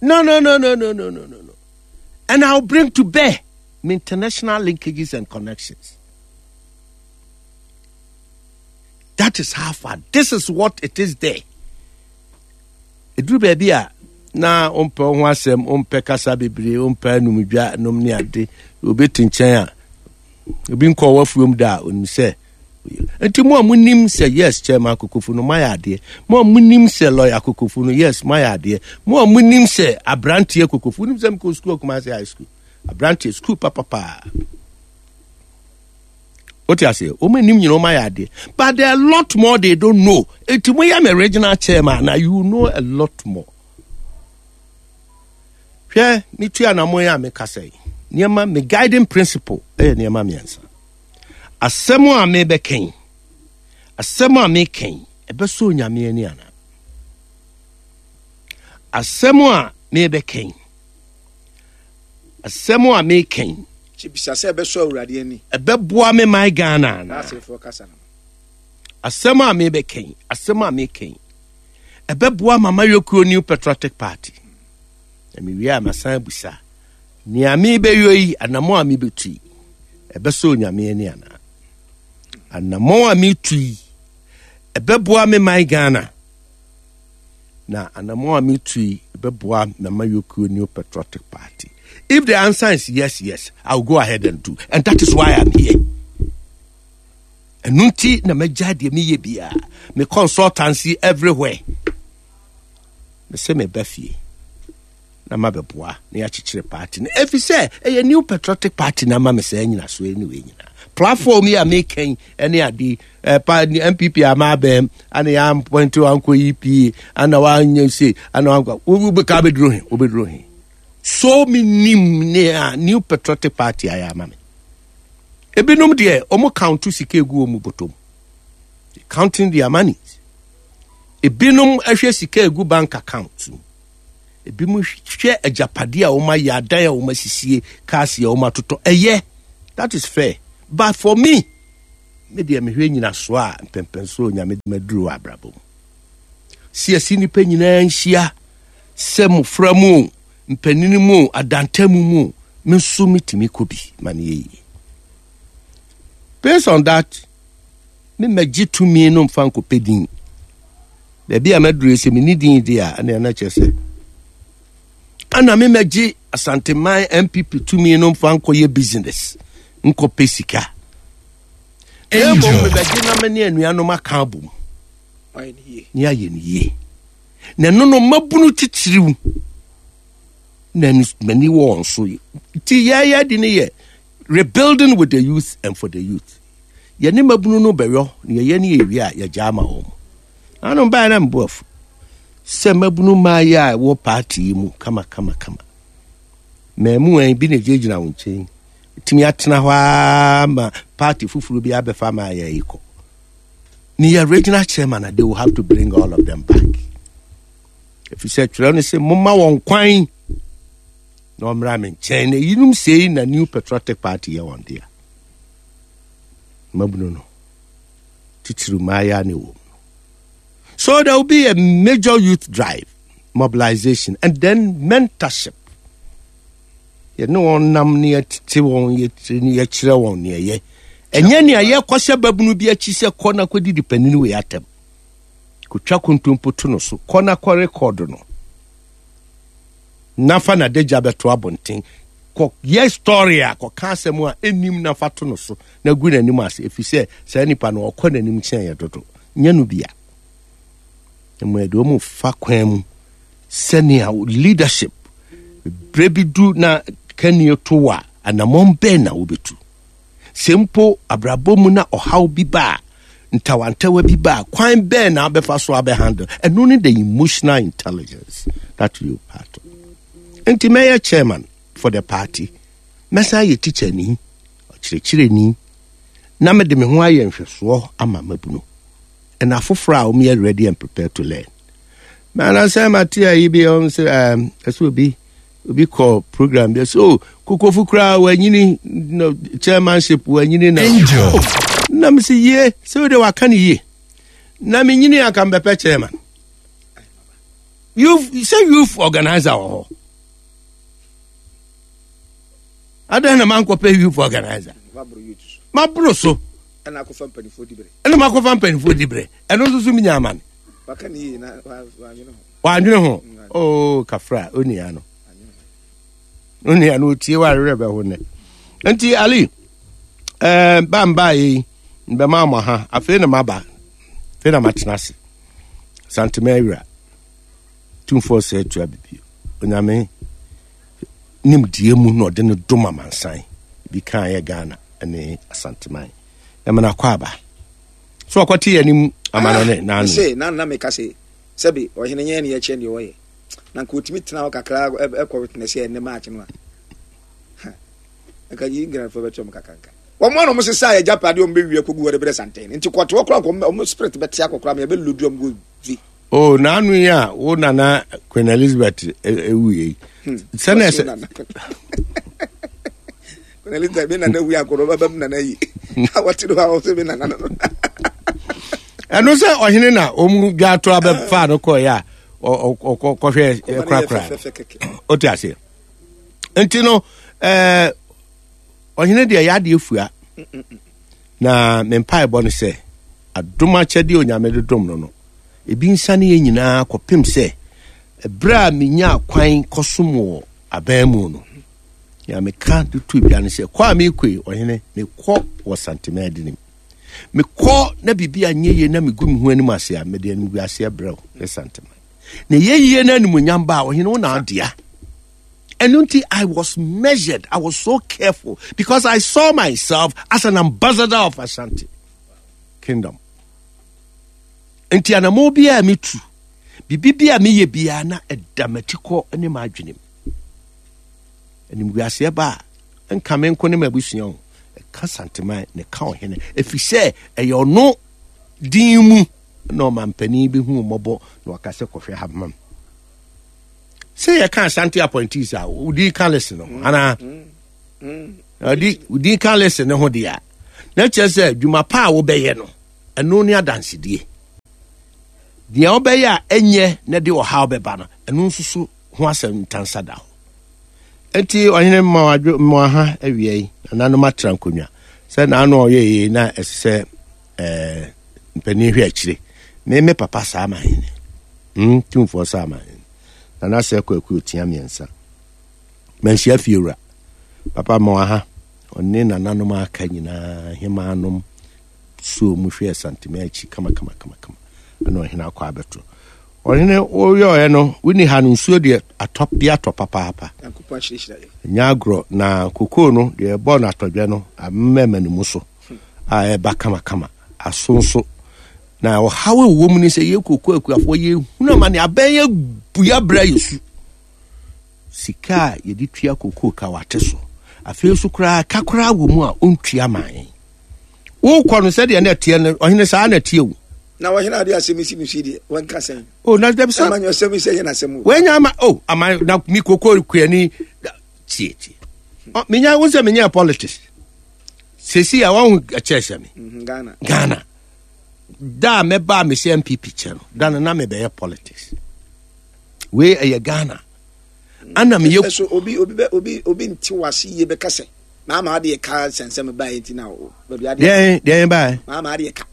No, no, no, no, no, no, no, no, no. And I'll bring to bear my international linkages and connections. That is how far. This is what it is there. Ɛduru baabi a na ɔmpɛ ho asɛm, ɔmpɛ kasa bebree, ɔmpɛ anumdwa nom ne ade. Obi te nkyɛn a, obi nkɔ wafuom da a, onim sɛ nti mo a monim sɛ yes chairman Kokofu no moayɛ adeɛ mo a monim sɛ lawyer Kokofu no yes moayɛ adeɛ mo a monim sɛ aberanteɛ Kokofu wonim sɛ mekɔ sukuu Kumasi high school aberanteɛ sukuu papapaa wote aseɛ wɔn anim nyina wɔn ayɛ adeɛ but there are a lot more they don't know eti mo yɛ me regional chairman na you know a lot more hwɛ me tu anamɔ yi a mekasa yi nneɛma me guiding principle ɛyɛ nneɛma mmiɛnsa asɛm a mebɛkɛn asɛm a mekɛn ɛbɛsɔ onyame ani ana asɛm a mebɛkɛn asɛm a meka yi. Bisa sɛ ɛbɛsɔ Awurade ani. Ɛbɛboa me man Ghana anaa? Asɛm a mebɛka yi, asɛm a meka yi, ɛbɛboa Mama Yokuo New Patriotic Party. Na mewie a masan abusa, nea mebɛyɔ yi, anammɔn a mebɛtu yi, ɛbɛsɔ Onyame ani anaa? Anammɔn a metu yi, ɛbɛboa me man Ghana. Na anamɔn a metu yi bɛboa Mama Yokio New Patriotic Party. If the answer is yes, yes, I will go ahead and do. And that is why I'm here. Ɛno nti na magya deɛ meyɛ biara. Me consultancy everywhere. Mese meba fie na mabɛboa na yɛakyekyere party no. Ɛfiri sɛ ɛyɛ New Patriotic Party na ama me saa nyinasoɔ ne wei nyinaa. Platform yi a meka yi ne ade pa NPP ama abɛm ana yɛ appoint wankɔ EPA ana wanyɛ se ana wankɔ wobɛka bɛduro he wobɛduro he. So menim ne a New Patriotic Party ayɛ ama me. Ebinom deɛ wɔn count sika egu wɔn bɔtɔm. Counting their money. Ebinom ahwɛ sika egu bank account mu. Ebinom hwɛ agyapadeɛ a wɔayɛ, adan a wɔasisie, cars a wɔatotɔ. Ɛyɛ. That is fair. But for me, Me deɛ mehwɛ nyinasoɔ a mpɛmpɛnsoɔ Onyame de maduru wɔ abrabɔ mu. Si ɛsi nnipa nyinaa nhyia sɛ mmofra mu o, mpanini mu o, adantamu mu o, me nso metumi kɔ bi ma no yɛ yie. Based on that, me mɛgye tumi no mfa nkɔpɛ din. Baabi a maduru yi sɛ menni din deɛ a, ɛnna ɛna kyerɛ sɛ ɛna me mɛgye Asanteman NPP tumi no mfa nkɔyɛ business nkɔpɛ sika. Na mmom mebɛgye na me ne anuanom aka abom ne ayɛ no yie. Na ɛno no mmabunu titiriw na m'ani wɔ wɔn so. Nti yɛyɛ de no yɛ rebuilding with the youth and for the youth. Yɛne mmabunu no bɛyɔ na yɛyɛ ne yɛwie a yɛgya ama wɔn. Ano baeɛ na mebo afu sɛ mmabunu mmaayɛ a ɛwɔ paati yi mu kama kama kama. Mmaamua bi na gyinagyina wo nkyɛn tumi atena hɔ ara ma paati foforɔ bi abɛfa mmaayɛ yi kɔ. Ne yɛ regional chairman they will have to bring all of them back. Ɛfiri sɛ twerɛ no sɛ momma wɔn kwan na ɔmmra me nkyɛn na eyinom sei na New Patriotic Party yɛ wɔn dea. Mmabunu no titiriw mmaayɛ na ɛwɔ mu no. So there will be a major youth drive, mobilization, and then mentorship. Yɛne wɔn nam ne yɛtete wɔn yɛtiri ne yɛkyerɛ wɔn nea ɛyɛ. Ɛnyɛ nea yɛkɔhyɛ babunu bi akyi sɛ kɔ na kɔdidi panin wei atɛm. Kotwa kontompo to no so. Kɔ na kɔ rekɔdo no. Na fa n'adagya bɛto abɔnten. Kɔ yɛ story a kɔka asɛm a ɛnnim na fa to no so na gu n'anim ase ɛfiri sɛ saa nipa no ɔkɔ n'anim kyɛn yɛ dodo. Nyɛ no bia. Mmom ɛde wɔn fa kwan mu sɛnea leadership berɛ bi du na kanie to wɔ a anammɔn bɛn na wobɛtu. Sɛ mpo abrabɔ mu na ɔhaw bi ba a, ntawantawa bi ba a, kwan bɛn na wobɛfa so abɛhandle? Ɛno ne the emotional intelligence that you part of. Nti mɛyɛ chairman for the party, mɛsan ayɛ teacher ni, ɔkyerɛkyerɛni, na mede me ho ayɛ nhwɛsoɔ ama mabunu. And afoforɔ a wɔyɛ ready and prepared to learn. Manansɛ mate ayi bi ɔm sɛ ɛsɛ obi obi kɔ program bi so oh, kokofu koraa wanyini no chairmanship wanyini na Angel. Oh, na mesi yie sɛ wode waka ne yie na menyini anka mbɛpɛ chairman youth sɛ youth organizer wɔ hɔ adɛn na mankɔpɛ youth organizer maboro so ɛna akɔfa mpanimfoɔ di berɛ ɛna makɔfa mpanimfoɔ di berɛ ɛno nso so menya ama me wandwene ho oo oh, kafra onua no onua no otie wawerɛ bɛho nnɛ nti ali ɛɛ eh, bambaa yi mbɛma mo ha afei na maba afei na matena ase santema awura tumfoɔ sɛ atua bibi onyame nimdeɛ mu na ɔde no dom amansan bi kan yɛ ghana ne asanteman ɛmana kɔ aba so ɔkɔte yɛn anim amanɔne ah, n'ano. Se na na meka se sɛbi ɔhene nyɛ ne yɛkyɛ deɛ ɔyɛ na nka ɔtumi tena hɔ kakra ɛkɔ witness yɛ ɛnɛ match no a nka yi nkrafoɔ bɛkyɛ ɔmo kakanka wɔn a wɔn sesa yɛ agyapadeɛ wɔn bɛwie akɔgu hɔ de brɛ santen nti kɔte hɔ koraa nka wɔn spirit bɛte akɔ koraa ma yɛbɛlodu wɔn go vi. o oh, n'ano yi a wo nana Queen Elizabeth ewu yi hmm. sɛnɛ sɛ. Queen Elizabeth mi nana wu akɔrɔ bɛbɛ mi nana yi wɔte do a wɔsɛ mi nana no. Ɛno sɛ ɔhene na wɔn dwa ato abɛfa no kɔɛ a ɔkɔhwɛ korakora o te aseɛ nti no ɛɛ ɔhene deɛ yɛ adeɛ fua na me mpaebɔ no sɛ adom akyɛdeɛ onyame de dom no no ebi nsane yɛ nyinaa kɔpem sɛ ɛberɛ a menya kwan kɔsom wɔ aban mu no nea meka de to dwa no sɛ kɔ a mekɔ yi ɔhene mekɔ wɔ santema adinim mekɔ na biribi anyɛ yie na megu me ho anim ase a mede animguaseɛ brɛ wo ne santema na ɛyɛ yie na animuonyam ba a ɔhene wo na adea ɛno nti i was measured i was so careful because i saw myself as an ambassador of ashanti kingdom nti anamɔ biara metu biribi bi a meyɛ biara na ɛda m'atikɔ ne m'adwenem Animguaseɛ ba a, ɛnka me nko ne m'abusua o, ɛka Santeman na ɛka ɔhene, ɛfiri sɛ ɛyɛ ɔno din mu na ɔmampanin bɛhu mmɔbɔ na waka sɛ kɔhwɛ ha ma m. Sɛ yɛka Asante appointees a, wodi ka list no ho anaa? Wodi ka list no ho deɛ a. Na kyerɛ sɛ dwuma pa a wobɛyɛ no, ɛno ne adansedie. Deɛ wobɛyɛ a ɛnyɛ na de ɔhaw bɛba no, ɛno nso so ho asɛm ntansa da hɔ. Enti ɔhene mma wadwo mma ha awia yi, nananom atra nkonnwa. Sɛ n'ano a ɔyɛ yei na ɛsɛ sɛ ɛɛ mpanin hwɛ akyire. Me me papa saa ma hene. Hmm, tumfoɔ saa ma hene. Nana sɛ kwaku otia mmiɛnsa. Manhyia fiewura. Papa ma waha. Ɔne nananom aka nyinaa hemaanom suo mu hwɛɛ Santema akyi kama kama kama kama. Ɛna ɔhene akɔ abɛto. Ɔhene woyɔɔɛ no wonni ha no nsuo deɛ atɔ bi atɔ papaapa. Nyɛ agorɔ na kokoo no deɛ ɛbɔ no atɔdwɛ no amɛma ne mu so a ɛba kama kama aso nso na ɔhaw ɛwɔ mu ne sɛ yɛ kokoo akuafoɔ yɛhunu amane abɛn yɛ bua berɛ yɛ su. Sika a yɛde tua kokoo ka wate so. Afei nso koraa ka koraa wɔ mu a ɔntua ma yɛn. Wokɔ no sɛdeɛ na ɛteɛ no ɔhene saa na ɛteɛ o. Na ɔhene ade asɛm yi si no si deɛ wɔnka sɛn. O na dabi sɛ. Ɛma nyɛ ɔsɛm yi sɛ yɛ n'asɛm o. Wɔanya ama o ama na mi kokoo kuani tie tie. Menya wo sɛ menya politics. Sesi a wɔn ɛkyɛ sɛ me. Mhm, Ghana. Ghana. Da a mɛba a mehyɛ NPP kyɛ no da no na mebɛyɛ politics. Wei ɛyɛ Ghana. Ana meyɛ. So obi obi bɛ obi obi nte wase yie bɛka sɛ maama adeɛ ka sɛnsɛm baeɛ nti na baabi adeɛ. Deɛn deɛn baeɛ. Maama adeɛ ka.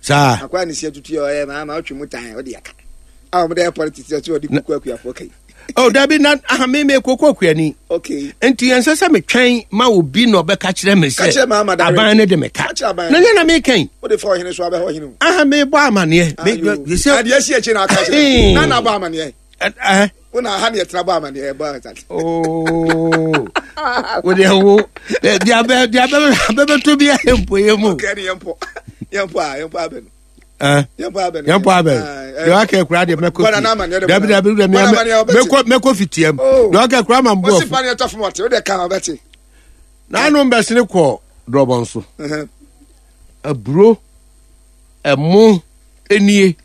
Saa. Akwa ne si atutu yɛ ɔyɛ maama ɔtwe mu tan ɔde aka. A wɔn de yɛ politics ɔte ɔde kuku akuafoɔ kai. Oh dabi na aha me me koko akuani. Okay. Nti yɛn sɛ sɛ metwɛn ma obi na ɔbɛka kyerɛ me sɛ. Aban ne de me ka. Na nyɛ na me kɛn. O de fa ɔhene so abɛhɔ ɔhene o. Aha me bɔ amaneɛ. Sɛ adeɛ si akyi na aka kyerɛ. Na na bɔ amaneɛ. Ɛɛ. Wo na aha ne yɛtena bɔ amaneɛ bɔ asase. Oo. Wo deɛ wo deɛ abɛ deɛ abɛ abɛbɛtɔ bi ayɛ mpo yɛ mu. Ɔkɛ ne yɛn pɔ yɛn pɔ a yɛn pɔ abɛ no. Yɛn pɔ abɛ deɛ waka kura deɛ mɛkɔ fi dabi dabi dabi mɛkɔ mɛkɔ fitiam deɛ waka kura ma mbɔ afu. Ɔsi ɛtɔ fam ɔte o de kan ɔbɛte. N'ano mbɛsene kɔ drɔbɔn so. Aburo ɛmo enie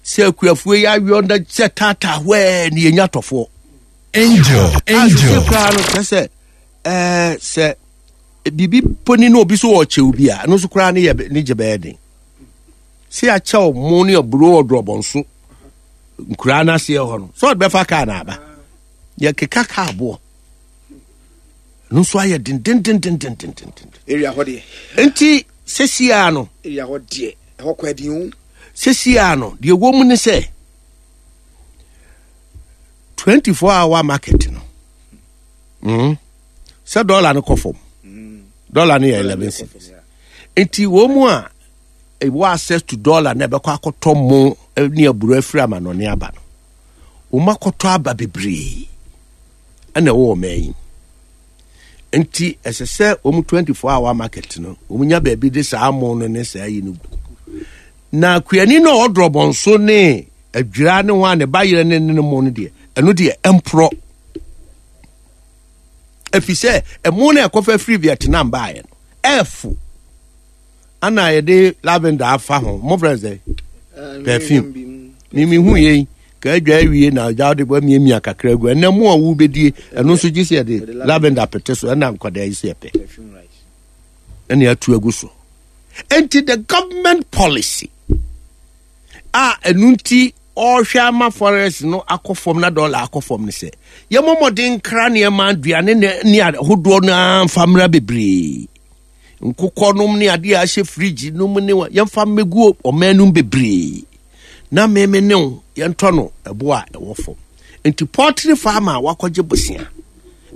sɛ akuafoɔ yi aweɔ na sɛ taataa hwɛɛ ne yɛnya tɔfoɔ. Angel angel. Ase koraa no kyerɛ sɛ ɛɛ sɛ biribi poni na obi so wɔ kyɛw bi a ɛno nso koraa ne yɛ ne gye bɛyɛ den. Sɛ yɛakyɛw mo ne aburo wɔ drɔbɔnso nkuraa no aseɛ hɔ no sɛ ɔde bɛfa kaa na aba yɛkeka kaa boɔ ɛno nso ayɛ dendendendendendenden. Area hɔ deɛ. Nti sɛsiaa no. Area hɔ deɛ ɛhɔ kɔ ɛdin o. Sɛsiaa no deɛ ɛwɔ mu ne sɛ 24 hour market no mm, sɛ dɔla no kɔ fam dɔla no yɛ 11 cedis nti wɔn mu a ɛwɔ access to dollar na ɛbɛkɔ akɔtɔ mo ne aburo afiri amanɔne aba no wɔn akɔtɔ aba bebree ɛna ɛwɔ wɔn ayi nti ɛsɛ sɛ wɔn 24 hour market no wɔn nya baabi de saa mo no ne saa yi no gu na kuani no a ɔdrɔ bɔnso ne adwira ne ho a ne ba yerɛ ne ne mo no deɛ ɛno deɛ ɛmporɔ ɛfiri sɛ ɛmo no ɛkɔfa firi Vietnam baeɛ no ɛɛfo ana yɛde lavender afa ho mo frɛ sɛ perfume mimi hu yei ka adwa awie na agya wode bɔ miamia kakra gu ɛnɛ mo a wobɛdie ɛno nso gye sɛ yɛde lavender pete so ɛna nkwadaa yi sɛ yɛpɛ ɛne atu agu so enti the government policy a ɛno nti ɔrehwɛ ama forex no akɔ fam na dɔla akɔ fam no sɛ yɛmmɔ mmɔden nkra nneɛma aduane ne ahodoɔ no ara mfa mmra bebree nkokɔ nom ne adeɛ a ahyɛ fridge nom ne yɛmfa mmɛgu ɔman nom bebree na meme ne wo yɛntɔ no ɛbo a ɛwɔ fam nti poultry farm a wakɔgye bosea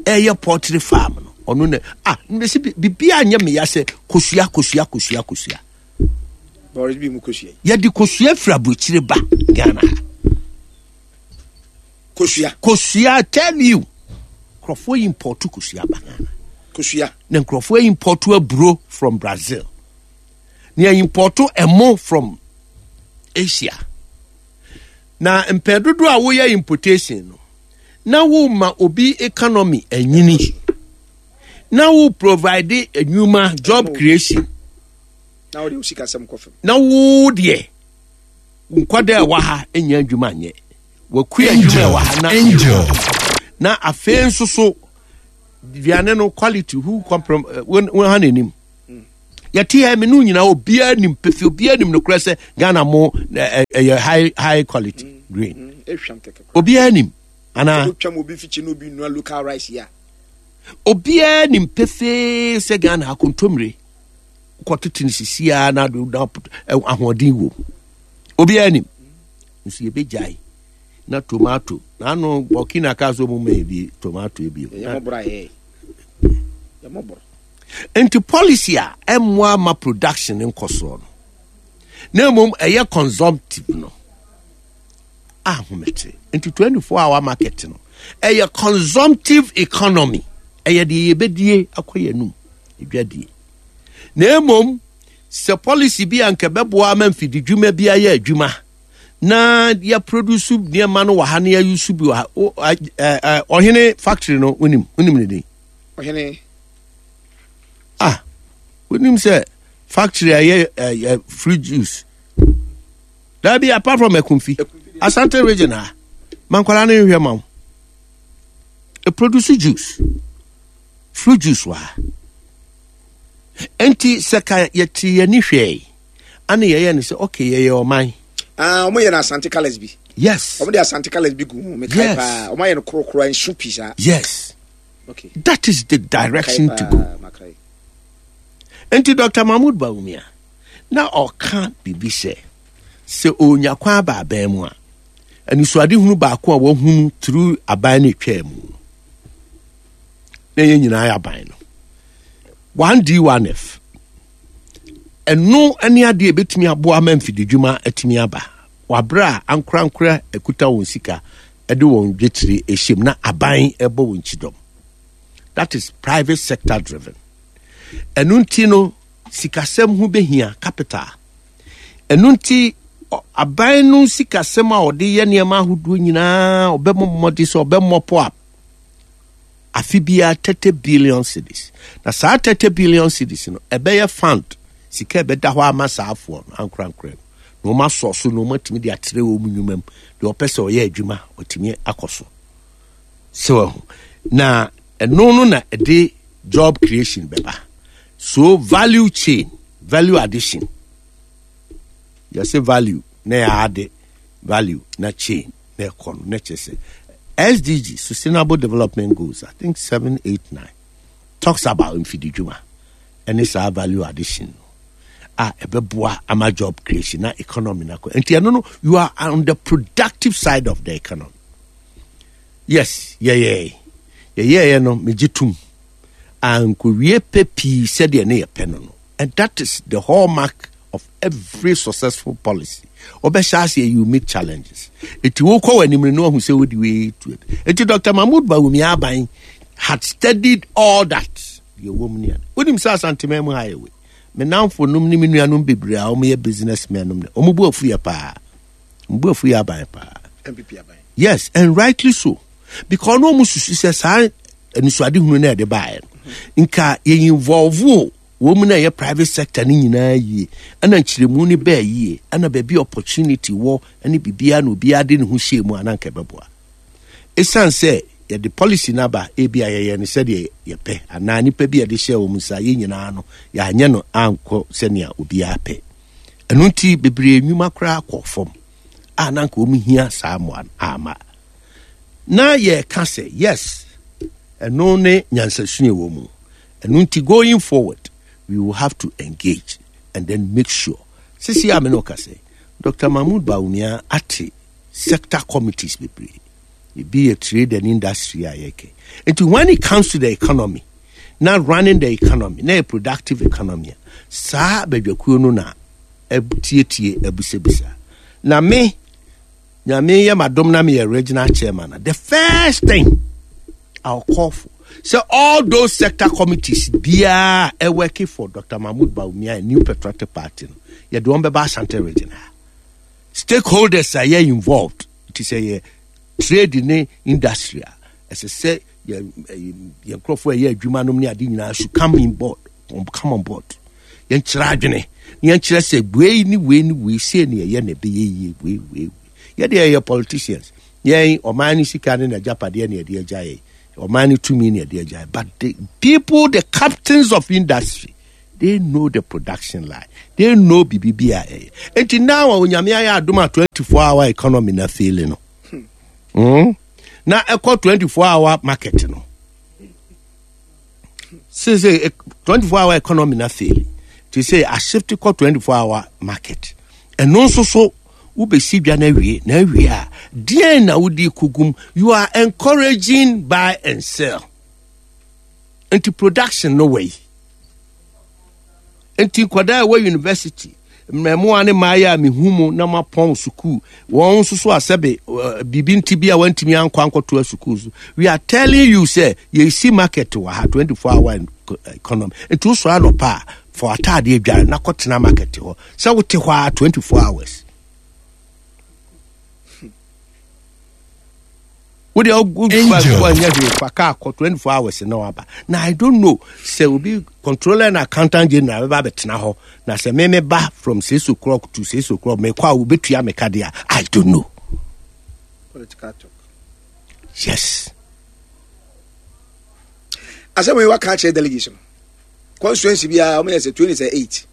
ɛyɛ poultry farm no ɔno na ah mbɛsi biribiara nyɛ meya sɛ kosua kosua kosua kosua Yɛde kosua firi aburokyire ba Ghana ha. Kosua. Kosua tell you. Nkurɔfoɔ import kosua ba Ghana. Kosua. Na nkurɔfoɔ import aburo from Brazil. Na import ɛmo from Asia. Na mpɛn dodoɔ a woyɛ importation no, na woma obi economy anyini. Na wo provide nnwuma job creation. Na wode wo sikasɛm kɔ fam. Na wo deɛ nkwadaa a ɛwɔ ha nyɛ adwuma nyɛ. Wakua adwuma ɛwɔ ha na Angel. Na afei nso so aduane no quality who comprom eh, wɔn ha n'anim. Yɛte ha me no nyinaa obiara nim pefe obiara nim nokorɛ sɛ Ghana mo ɛyɛ high high quality grain. Obiara nim anaa? Obiara nim pefee sɛ Ghana akontommire kɔtete no sisi ara na ahoɔden wom. Obiara nim. Nso yɛbɛgyae na tomato na ano Burkina kaa sɛ ɔmu ma bi tomato bi. Nti policy a ɛmmoa ma production nkɔsoɔ no na mmom ɛyɛ consumptive no ahomete. Nti 24 hour market no ɛyɛ consumptive economy ɛyɛ deɛ yɛbɛdie akɔ yɛn anum dwadie na mmom sɛ policy bi a nka ɛbɛboa ama mfididwuma bi ayɛ adwuma na yɛproduce nneɛma no wɔ ha na yɛayusu bi wɔ ha ɔhene factory no wonim wonim ne din ɔhene ah wonim sɛ factory a ɛyɛ fruit juice Dabi apart from Ekumfi, Asante region ha, mankwala no nhwɛ ma wo. E produce juice, fruit juice wɔ ha. Enti sɛ ka yɛte yɛni hwɛe, ana yɛyɛ no sɛ okay yɛyɛ ɔman. Ah, wɔn yɛ no Asante colours bi. Yes. Wɔn de Asante colours bi gu ho, mekae Yes. paa. Wɔn ayɛ no korokoro nsu pii saa. Yes. Okay. That is the direction Makae to go. paa, makae. Enti Dr. Mahmoud Bawumia, na ɔka biribi sɛ, sɛ ɔnya kwan aba aban mu a, anisoadehunu baako a wahunu through aban no etwaa mu no, na yɛn nyinaa yɛ aban no. 1D 1F. Ɛno ne adeɛ a ɛbɛtumi aboa ma mfididwuma atumi aba. Wabrɛ a ankorankora akuta wɔn sika de wɔn dwetire ɛhyɛ mu na aban ɛbɔ wɔn kyidɔm. That is private sector driven. Ɛno nti no, sikasɛm ho bɛhia capital. Ɛno nti aban no sikasɛm a ɔde yɛ nneɛma ahodoɔ nyinaa ɔbɛmmɔ mmɔden sɛ ɔbɛmmɔpo up afe biara 30 billion cedis. Na saa 30 billion cedis no ɛbɛyɛ fund sika ɛbɛda hɔ ama saa afoɔ no ankorankorɛ no na wɔn asɔ so na wɔn atumi de atrɛ wɔn nnwuma mu deɛ ɔpɛ sɛ ɔyɛ adwuma ɔtumi akɔ so sɛ wahu na ɛno no na ɛde job creation bɛba so value chain value addition yɛsɛ value na yɛ ade value na chain na ɛkɔ no na kyerɛ sɛ SDG sustainable development goals I think 7 8 9 talks about mfididwuma ɛne saa value addition no a ɛbɛboa ama job creation na economy na kɔ nti ɛno no you are on the productive side of the economy Yes, yɛyɛe. Yɛyɛeɛ no, megye tom. Ankowie pɛ pii sɛdeɛ ne yɛpɛ no no. And that is the hallmark of every successful policy. Wobɛhyɛ aseɛ, you meet challenges. Eti wokɔ w'anim no na wahu sɛ wode wei tu. Eti Dr. Mahmoud Bawumia aban had studied all that. Deɛ ɛwɔ mu ne ade. Wonim sɛ Asanteman mu ha yɛ wei. Me namfo nom ne me nuanom bebree a wɔyɛ businessmen nom ne, wɔn bo afu yɛ paa. Wɔn bo afu yɛ aban paa. MPP aban. Yes, and rightly so. Because no ɔmo susu sɛ saa anisoadehunu na ɛde baeɛ no, nka yɛ involve o wɔn mu na ɛyɛ private sector no nyinaa yie, ɛna nkyerɛmu no bɛɛ yie, ɛna baabi opportunity wɔ ɛne biribiara na obiara de ne ho hyɛɛ mu a na nka ɛbɛboa. Ɛsiane sɛ yɛde policy no aba ebi a yɛyɛ no sɛdeɛ yɛpɛ anaa nipa bi a yɛde hyɛɛ wɔn nsa yɛn nyinaa no yɛanyɛ no ankɔ sɛnea obiara pɛ. Ɛno nti bebree nnwuma koraa kɔɔ fam. a na anka wɔn hia saa mmoa no amma. Na yɛka sɛ yes, ɛno ne nyansasua wɔ mu. Ɛno nti going forward, we will have to engage and then make sure. Sisi a me ne ɔka sɛ, Dr. Mahmoud Bawumia ate sector committees bebree. Ebi yɛ trade and industry a yɛkɛ. Nti when it comes to the economy, na running the economy, na yɛ productive economy a, saa badwakuo no na atietie abisabisa. Na me, Nyame yɛ m'adom na meyɛ regional chairman a, the first thing I'll call for, sɛ all those sector committees biara a ɛworking for Dr. Mahmoud Bawumia and New Patriotic Party no, yɛde wɔn bɛba Asante region ha. Stakeholders a yɛ involved, ti sɛ yɛ trade ne industry a, ɛsɛ sɛ yɛn yɛn nkurɔfoɔ a ɛyɛ adwuma nom ne ade nyinaa should come in board come on board yɛnkyerɛ adwene na yɛnkyerɛ sɛ wei ne wei ne wei sei ne ɛyɛ na ɛbɛyɛ yie wei wei wei yɛde yɛyɛ politicians yɛn ɔman no sika ne n'agyapadeɛ ne ɛde agya yɛn ɔman no tumi ne ɛde agya yɛn but the people the captains of industry. They know the production line. They know biribi bi a ɛyɛ. Nti now a Onyame ayɛ adom a 24 hour economy na fail no. Na ɛkɔ 24 hour market no. Sese 24 hour economy na fail. Ti sɛ a shift kɔ 24 hour market. Ɛno nso so wobɛsi dwa no awie na awie a deɛn na wode kɔgum? You are encouraging buy and sell. Nti production no wɔ yi. Nti nkwadaa a ɛwɔ university, mmaamua ne mmaayɛ a mehu mu na mapɔn sukuu, wɔn nso so asɛbe eh, biribi nti bi a wɔntumi ankɔ ankɔtoa sukuu so. We are telling you sɛ yɛsi market wɔ ha 24 hour economy. Nti wosɔre anɔpa a fa w'ataadeɛ dware na kɔtena market hɔ sɛ wote hɔ a 24 hours. Wo deɛ wonyɛ hwee fa kaa kɔ 24 hours na waba. Na I don't know sɛ obi controller and accountant general bɛba abɛtena hɔ na sɛ me me ba from 6 o'clock to 6 o'clock mekɔ a wobɛtua me ka deɛ I don't know. Political talk. Yes. Asɛm yi waka akyerɛ delegates no. Constituency biara wɔn yɛ sɛ 28.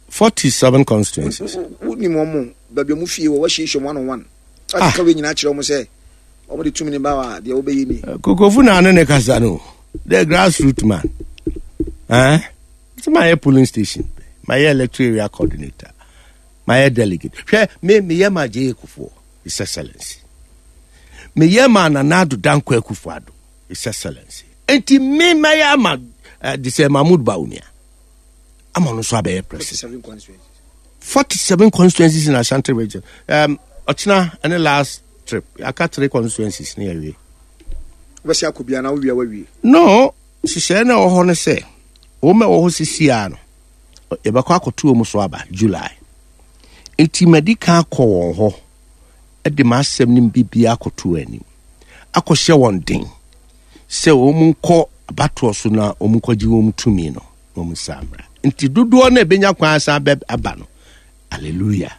47 constituencies. Wonim wɔn baabi wɔn fie wɔ wɔahyiahyia wɔn one on one. Ɔkeka ah. wei nyinaa kyerɛ wɔn sɛ wɔn de tumi ne ba wa deɛ wɔbɛyɛ ni. Eh, Kokofu na ano ne kasa no the grassroot man. Eh? Sɛ ma yɛ polling station, ma yɛ electoral area coordinator, ma yɛ delegate. Hwɛ me me yɛ ma J.A. Kufuor, His Excellency. Me yɛ ma Nana Addo Dankwa Akufo-Addo, His Excellency. Enti me ma yɛ ama uh, de sɛ Mahmoud Bawumia. Ama no nso abɛyɛ president. 47 constituencies in Ashanti region. Um, ɔkyena ɛne last trip. Aka three constituencies ne yɛwie. Wobɛsi akɔ bia na wowia wawie. No, nhyehyɛe na ɛwɔ hɔ no sɛ wɔn a ɛwɔ hɔ sisi a no yɛbɛkɔ akɔto wɔn so aba July. Nti madi kan akɔ wɔn hɔ de m'asɛm no biribiara akɔto wɔn anim akɔhyɛ wɔn den sɛ wɔn nkɔ abatoɔ so na wɔn nkɔgye wɔn tumi no. na wɔn nsa mmra. Nti dodoɔ no a ɛbɛnya kwan asan bɛ aba no, hallelujah.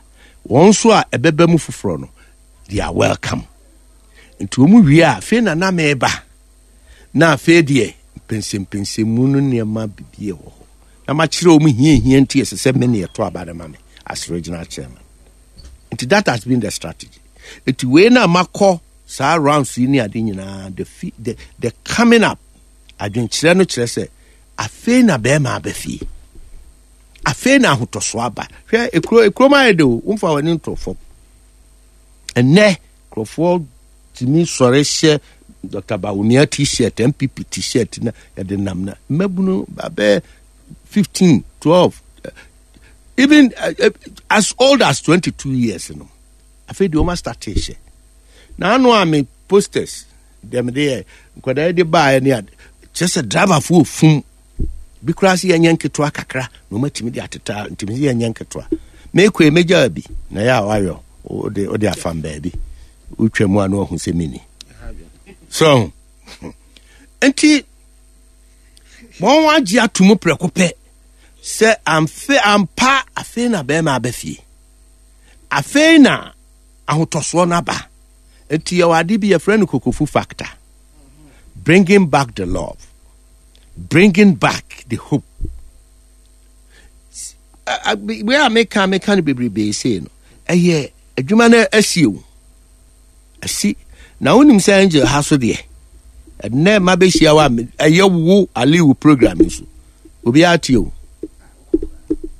Wɔn nso a ɛbɛba mu foforɔ no, they are welcome. Nti wɔn wie a, afei na na meba. Na afei deɛ, mpɛnsɛmpɛnsɛmu no nneɛma bibi wɔ hɔ. Na makyerɛ wɔn hiahia nti ɛsɛ sɛ me ne ɛto aba no ma me as regional chairman. Nti that has been the strategy. Nti wei na makɔ saa rounds yi ne ade nyinaa, the, the, the coming up adwenkyerɛ no kyerɛ sɛ Afei na bɛrima aba fie. Afei na ahotɔsoɔ aba. Hwɛ ekuro ekurom ayɛ de o, womfa w'ani nto fam. Ɛnɛ nkurɔfoɔ tumi sɔre hyɛ Dr. Bawumia t-shirt, MPP t-shirt na yɛde nam na mmabunu abɛɛ 15, 12, even uh, as old as 22 years no. Afei deɛ wɔn astate hyɛ. Na ano a me posters deɛ mede yɛ nkwadaa yi de baeɛ ne ade kyerɛ sɛ driverfoɔ ofum bi koraa sɛ yɛnyɛ nketewa kakra na wɔatumi de ateta ntumi sɛ yɛnyɛ nketewa mekɔ yi mɛgyaa bi na yɛ a wayɔ wode wode afam baabi wotwa mu a na wahu sɛ mini so nti wɔn agye ato mu prɛko pɛ sɛ amfe ampa afei na bɛrima aba fie afei na ahotɔsoɔ no aba Nti yɛwɔ ade bi yɛfrɛ no kokofu factor. Bringing back the love. Bringing back the hope. Wei a meka meka no bebrebe sei no, ɛyɛ adwuma no asi o. Asi. Na wonim sɛ angel ha so deɛ, ɛnɛ ma bɛhyia wo a ɛyɛ wo Aliu program nso. Obiara te o.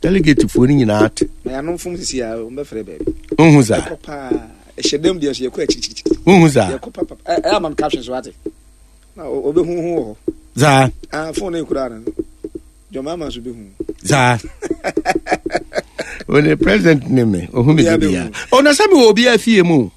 Delegate foɔ no nyinaa te. Na yɛanom fom sisi a wɔbɛfrɛ baabi. Wohu saa. Ɛkɔ paa. Ɛhyɛ dam deɛ so yɛkɔ akyirikyirikyiri. Wohu saa. Yɛkɔ papa. Ɛyɛ ama me caption so ate. Na ɔbɛhu ho wɔ hɔ. Saa. Ah, phone no ekura no. Jɔn ama so bɛhu. Saa. One president ne me. Ohu me de bia. Ɔna sɛ me wɔ obiara fie mu.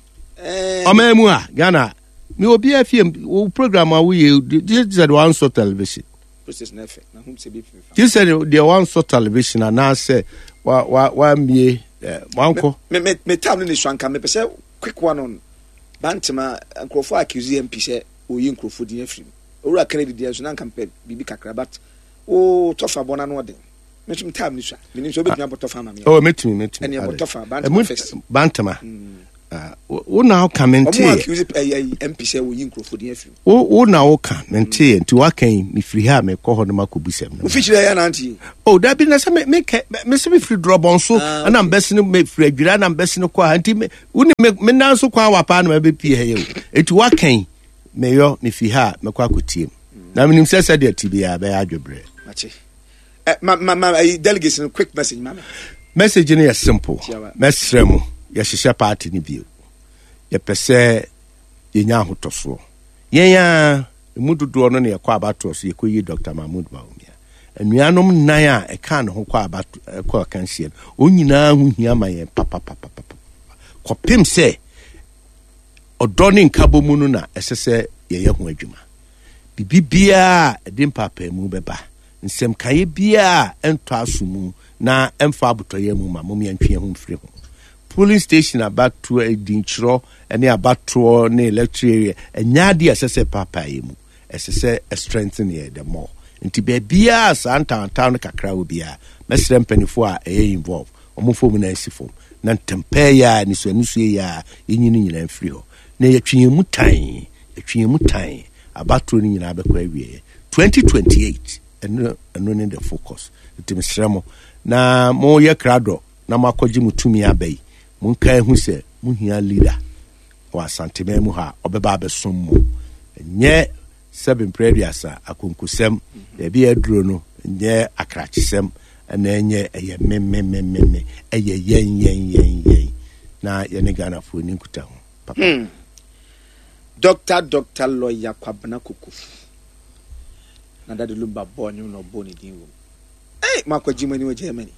Ɔman mu a Ghana. Me wɔ obiara fie mu. Wo program a woyɛ sɛ de wansɔ television. Gye sɛ deɛ wansɔ television anaasɛ wammie wankɔ. Me me me time no ne sua nka mepɛ sɛ quick one on Bantama nkurɔfoɔ accuse MP sɛ oyi nkurɔfoɔ din afiri mu. Owura Kennedy deɛ nso na nka mepɛ biribi kakra but wo tɔfa bɔ n'ano ɔden. Me nso me time ne sua. Menim sɛ wobɛtumi abɔ tɔfa ama me. Oh, mɛtumi mɛtumi. Ɛne ɛbɔ tɔfa Bantama first. Bantama. Ah, wo na woka mente. Ɔmo accuse ɛyɛ MP sɛ woyi nkurɔfoɔ din afiri mu. Wo na woka mente nti waka yi mefiri ha a mekɔ hɔ no makɔbisɛm no. Wofikyiri ɛyɛ nante. Oh dabi na sɛ me me kɛ me sɛ mefiri drɔbɔn so ah, ɛna mbɛsi no mefiri adwira na mbɛsi no kɔ ha nti me wo ne me me nan so kwan wa paa na mabɛpie ha yi o nti waka yi meyɔ mefiri ha a mɛkɔ akɔtie mu na menim sɛ sɛdeɛ te biara bɛyɛ adwebrɛ. Mate. Eh, ma ma ma eh, delegates no quick message ma me. Message no yɛ simple. Mɛsrɛ mo, yɛhyehyɛ party no bio. Yɛpɛ sɛ yɛnya ahotɔsoɔ. Yɛn a emu dodoɔ no na yɛkɔ abatoɔ so yɛkɔyi Dr. Mahmoud Bawumia. Anuanom nnan a ɛkaa ne ho kɔ abato ɛkɔ akansie no, wɔn nyinaa ho hia ma yɛn papapapapa. Kɔpem sɛ ɔdɔ ne nkabɔ mu no na ɛsɛ sɛ yɛyɛ ho adwuma. Biribi biara a ɛde mpaapaemu bɛba Nsɛmkaeɛ biara a ɛntɔ aso mu na ɛmfa abotɔyam mu ma mom yɛntwe yɛn ho mfiri ho. Polling station abatoɔ, edinkyerɛ ne abatoɔ ne electoral area ɛnyɛ adeɛ a ɛsɛ sɛ ɛpaapae yɛn mu. Ɛsɛ sɛ ɛ strengthen yɛn the more. Nti baabiara a saa ntawantawa no kakra wɔ biara, mɛsrɛ mpanimfoɔ a ɛyɛ involve, wɔn mfa wɔn nan nsi fam na ntɛmpɛɛ yi ara, anisoanisoɔ yi ara, yɛnyi ne nyinaa mfiri hɔ. Na yɛtwe yɛn mu tann, yɛtwe yɛn mu tann, abatoɔ no nyinaa bɛkɔ awieɛ. 2028 ɛno ɛno ne the focus nti mesrɛ mo na moyɛ krado na moakɔgye mo tumi aba yi monka ehu sɛ mohia leader wɔ asanteman mu ha a ɔbɛba abɛsom mo ɛnyɛ sɛbe mprɛ aduasa akonkosɛm baabi a aduro no nyɛ akrakyesɛm ɛna ɛnyɛ ɛyɛ me me me me me ɛyɛ yɛn yɛn yɛn yɛn na yɛne Ghanafoɔ ni nkutaho papa. Hmm. Doctor Doctor Lawyer Kwabena Kokofu na Daddy Lumba bɔɔ nnwom na ɔbɔɔ ne din wom. Hey, moakɔgye mo ani wɔ Germany.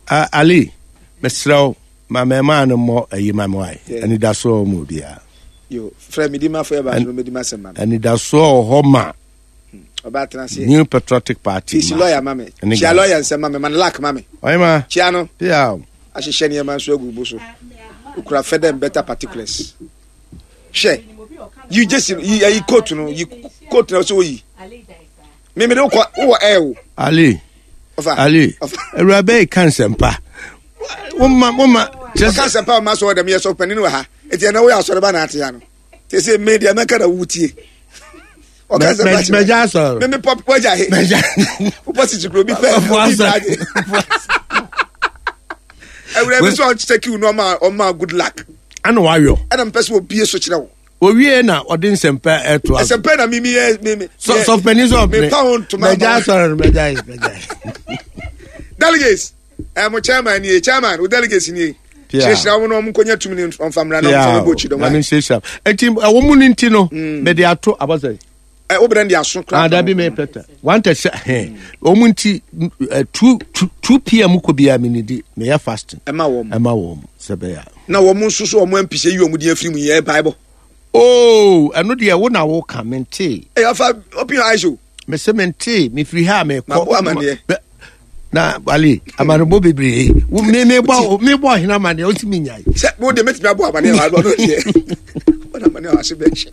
Uh, Ali, mesrɛ wo ma mɛmaa no mmɔ ayi ma me wae. Anidasoɔ wɔ mu obiara. Yo, frɛ me di ma fo yɛ baako no mɛdi ma sɛm ma me. Anidasoɔ wɔ hɔ ma hmm, ɔbaa tena ase. New Patriotic Party. Fisi lawyer ma me. Kyia lawyer nsɛm ma me, ma no luck ma me. Ɔyɛ ma. Kyia no. Pia. Ahyehyɛ nneɛma nso agu bo so. Okura fɛdɛm better particulars. Hwɛ, yi gyesi no, yi ayi coat no, yi coat na ɔsɛ oyi. Mímí de wokɔ wowɔ ɛɛ o. Ali, Ali, awuraba yi ka nsɛmpa. Woma woma. Ɔka nsɛmpa ɔma sɔ ɔdɛm yɛ sɔ panin wɔ ha. Eti ɛna woyɛ asɔreba na ate ya no. Te sɛ me deɛ mɛka na wotie. Ɔka nsɛmpa kyerɛ. Mɛgya asɔrɔ. Mímí pɔ wagya he. Mɛgya. Wopɔ sisi kuro bi pɛ. Obi gya Awuraba bi sɛ ɔkyɛ no ɔma ɔma good luck. Ana wayɔ. Ɛna mpɛ sɛ obie so kyerɛ wo. Owie na ɔde nsɛmpa ɛto aso. Nsɛmpa na mimi yɛ mimi. Sɔfpɛni sɛ ɔpene. Mepa ho ntoma. Mɛgya asɔre no mɛgya yi mɛgya yi. Delegates ɛ mo chairman nie chairman o delegates nie. Kyerɛkyerɛ wɔn na wɔn nkɔnya tumi ne nfa mmra na wɔn nfa bɔ akyi dɔm. Nyame nhyira. Eti ɛwɔ mu ne nti no mɛde ato abɔsɛ. Ɛ wo brɛ de aso koraa. Ah dabi me pɛtɛ. One thirty sɛ hɛn. Wɔn nti 2 2 pm kɔ biara me nidi meyɛ fasting. Ɛma wɔn. Ɛma wɔn sɛ bɛyɛ. Na wɔn nso so wɔn mpisɛ yi wɔn din afiri mu yɛ mpaebɔ. Oh ɛno deɛ wo na wo ka mente. Ɛyɛ afa open your eyes o. Mese mente mefiri ha mekɔ. Mabɔ amaneɛ. Na wale amanebɔ bebree wo me me bɔ me bɔ ɔhene amaneɛ wosi me nyae. Sɛ wo deɛ mɛtumi abɔ amaneɛ wa ɔno deɛ. Wɔn amaneɛ wa ase bɛkyɛ.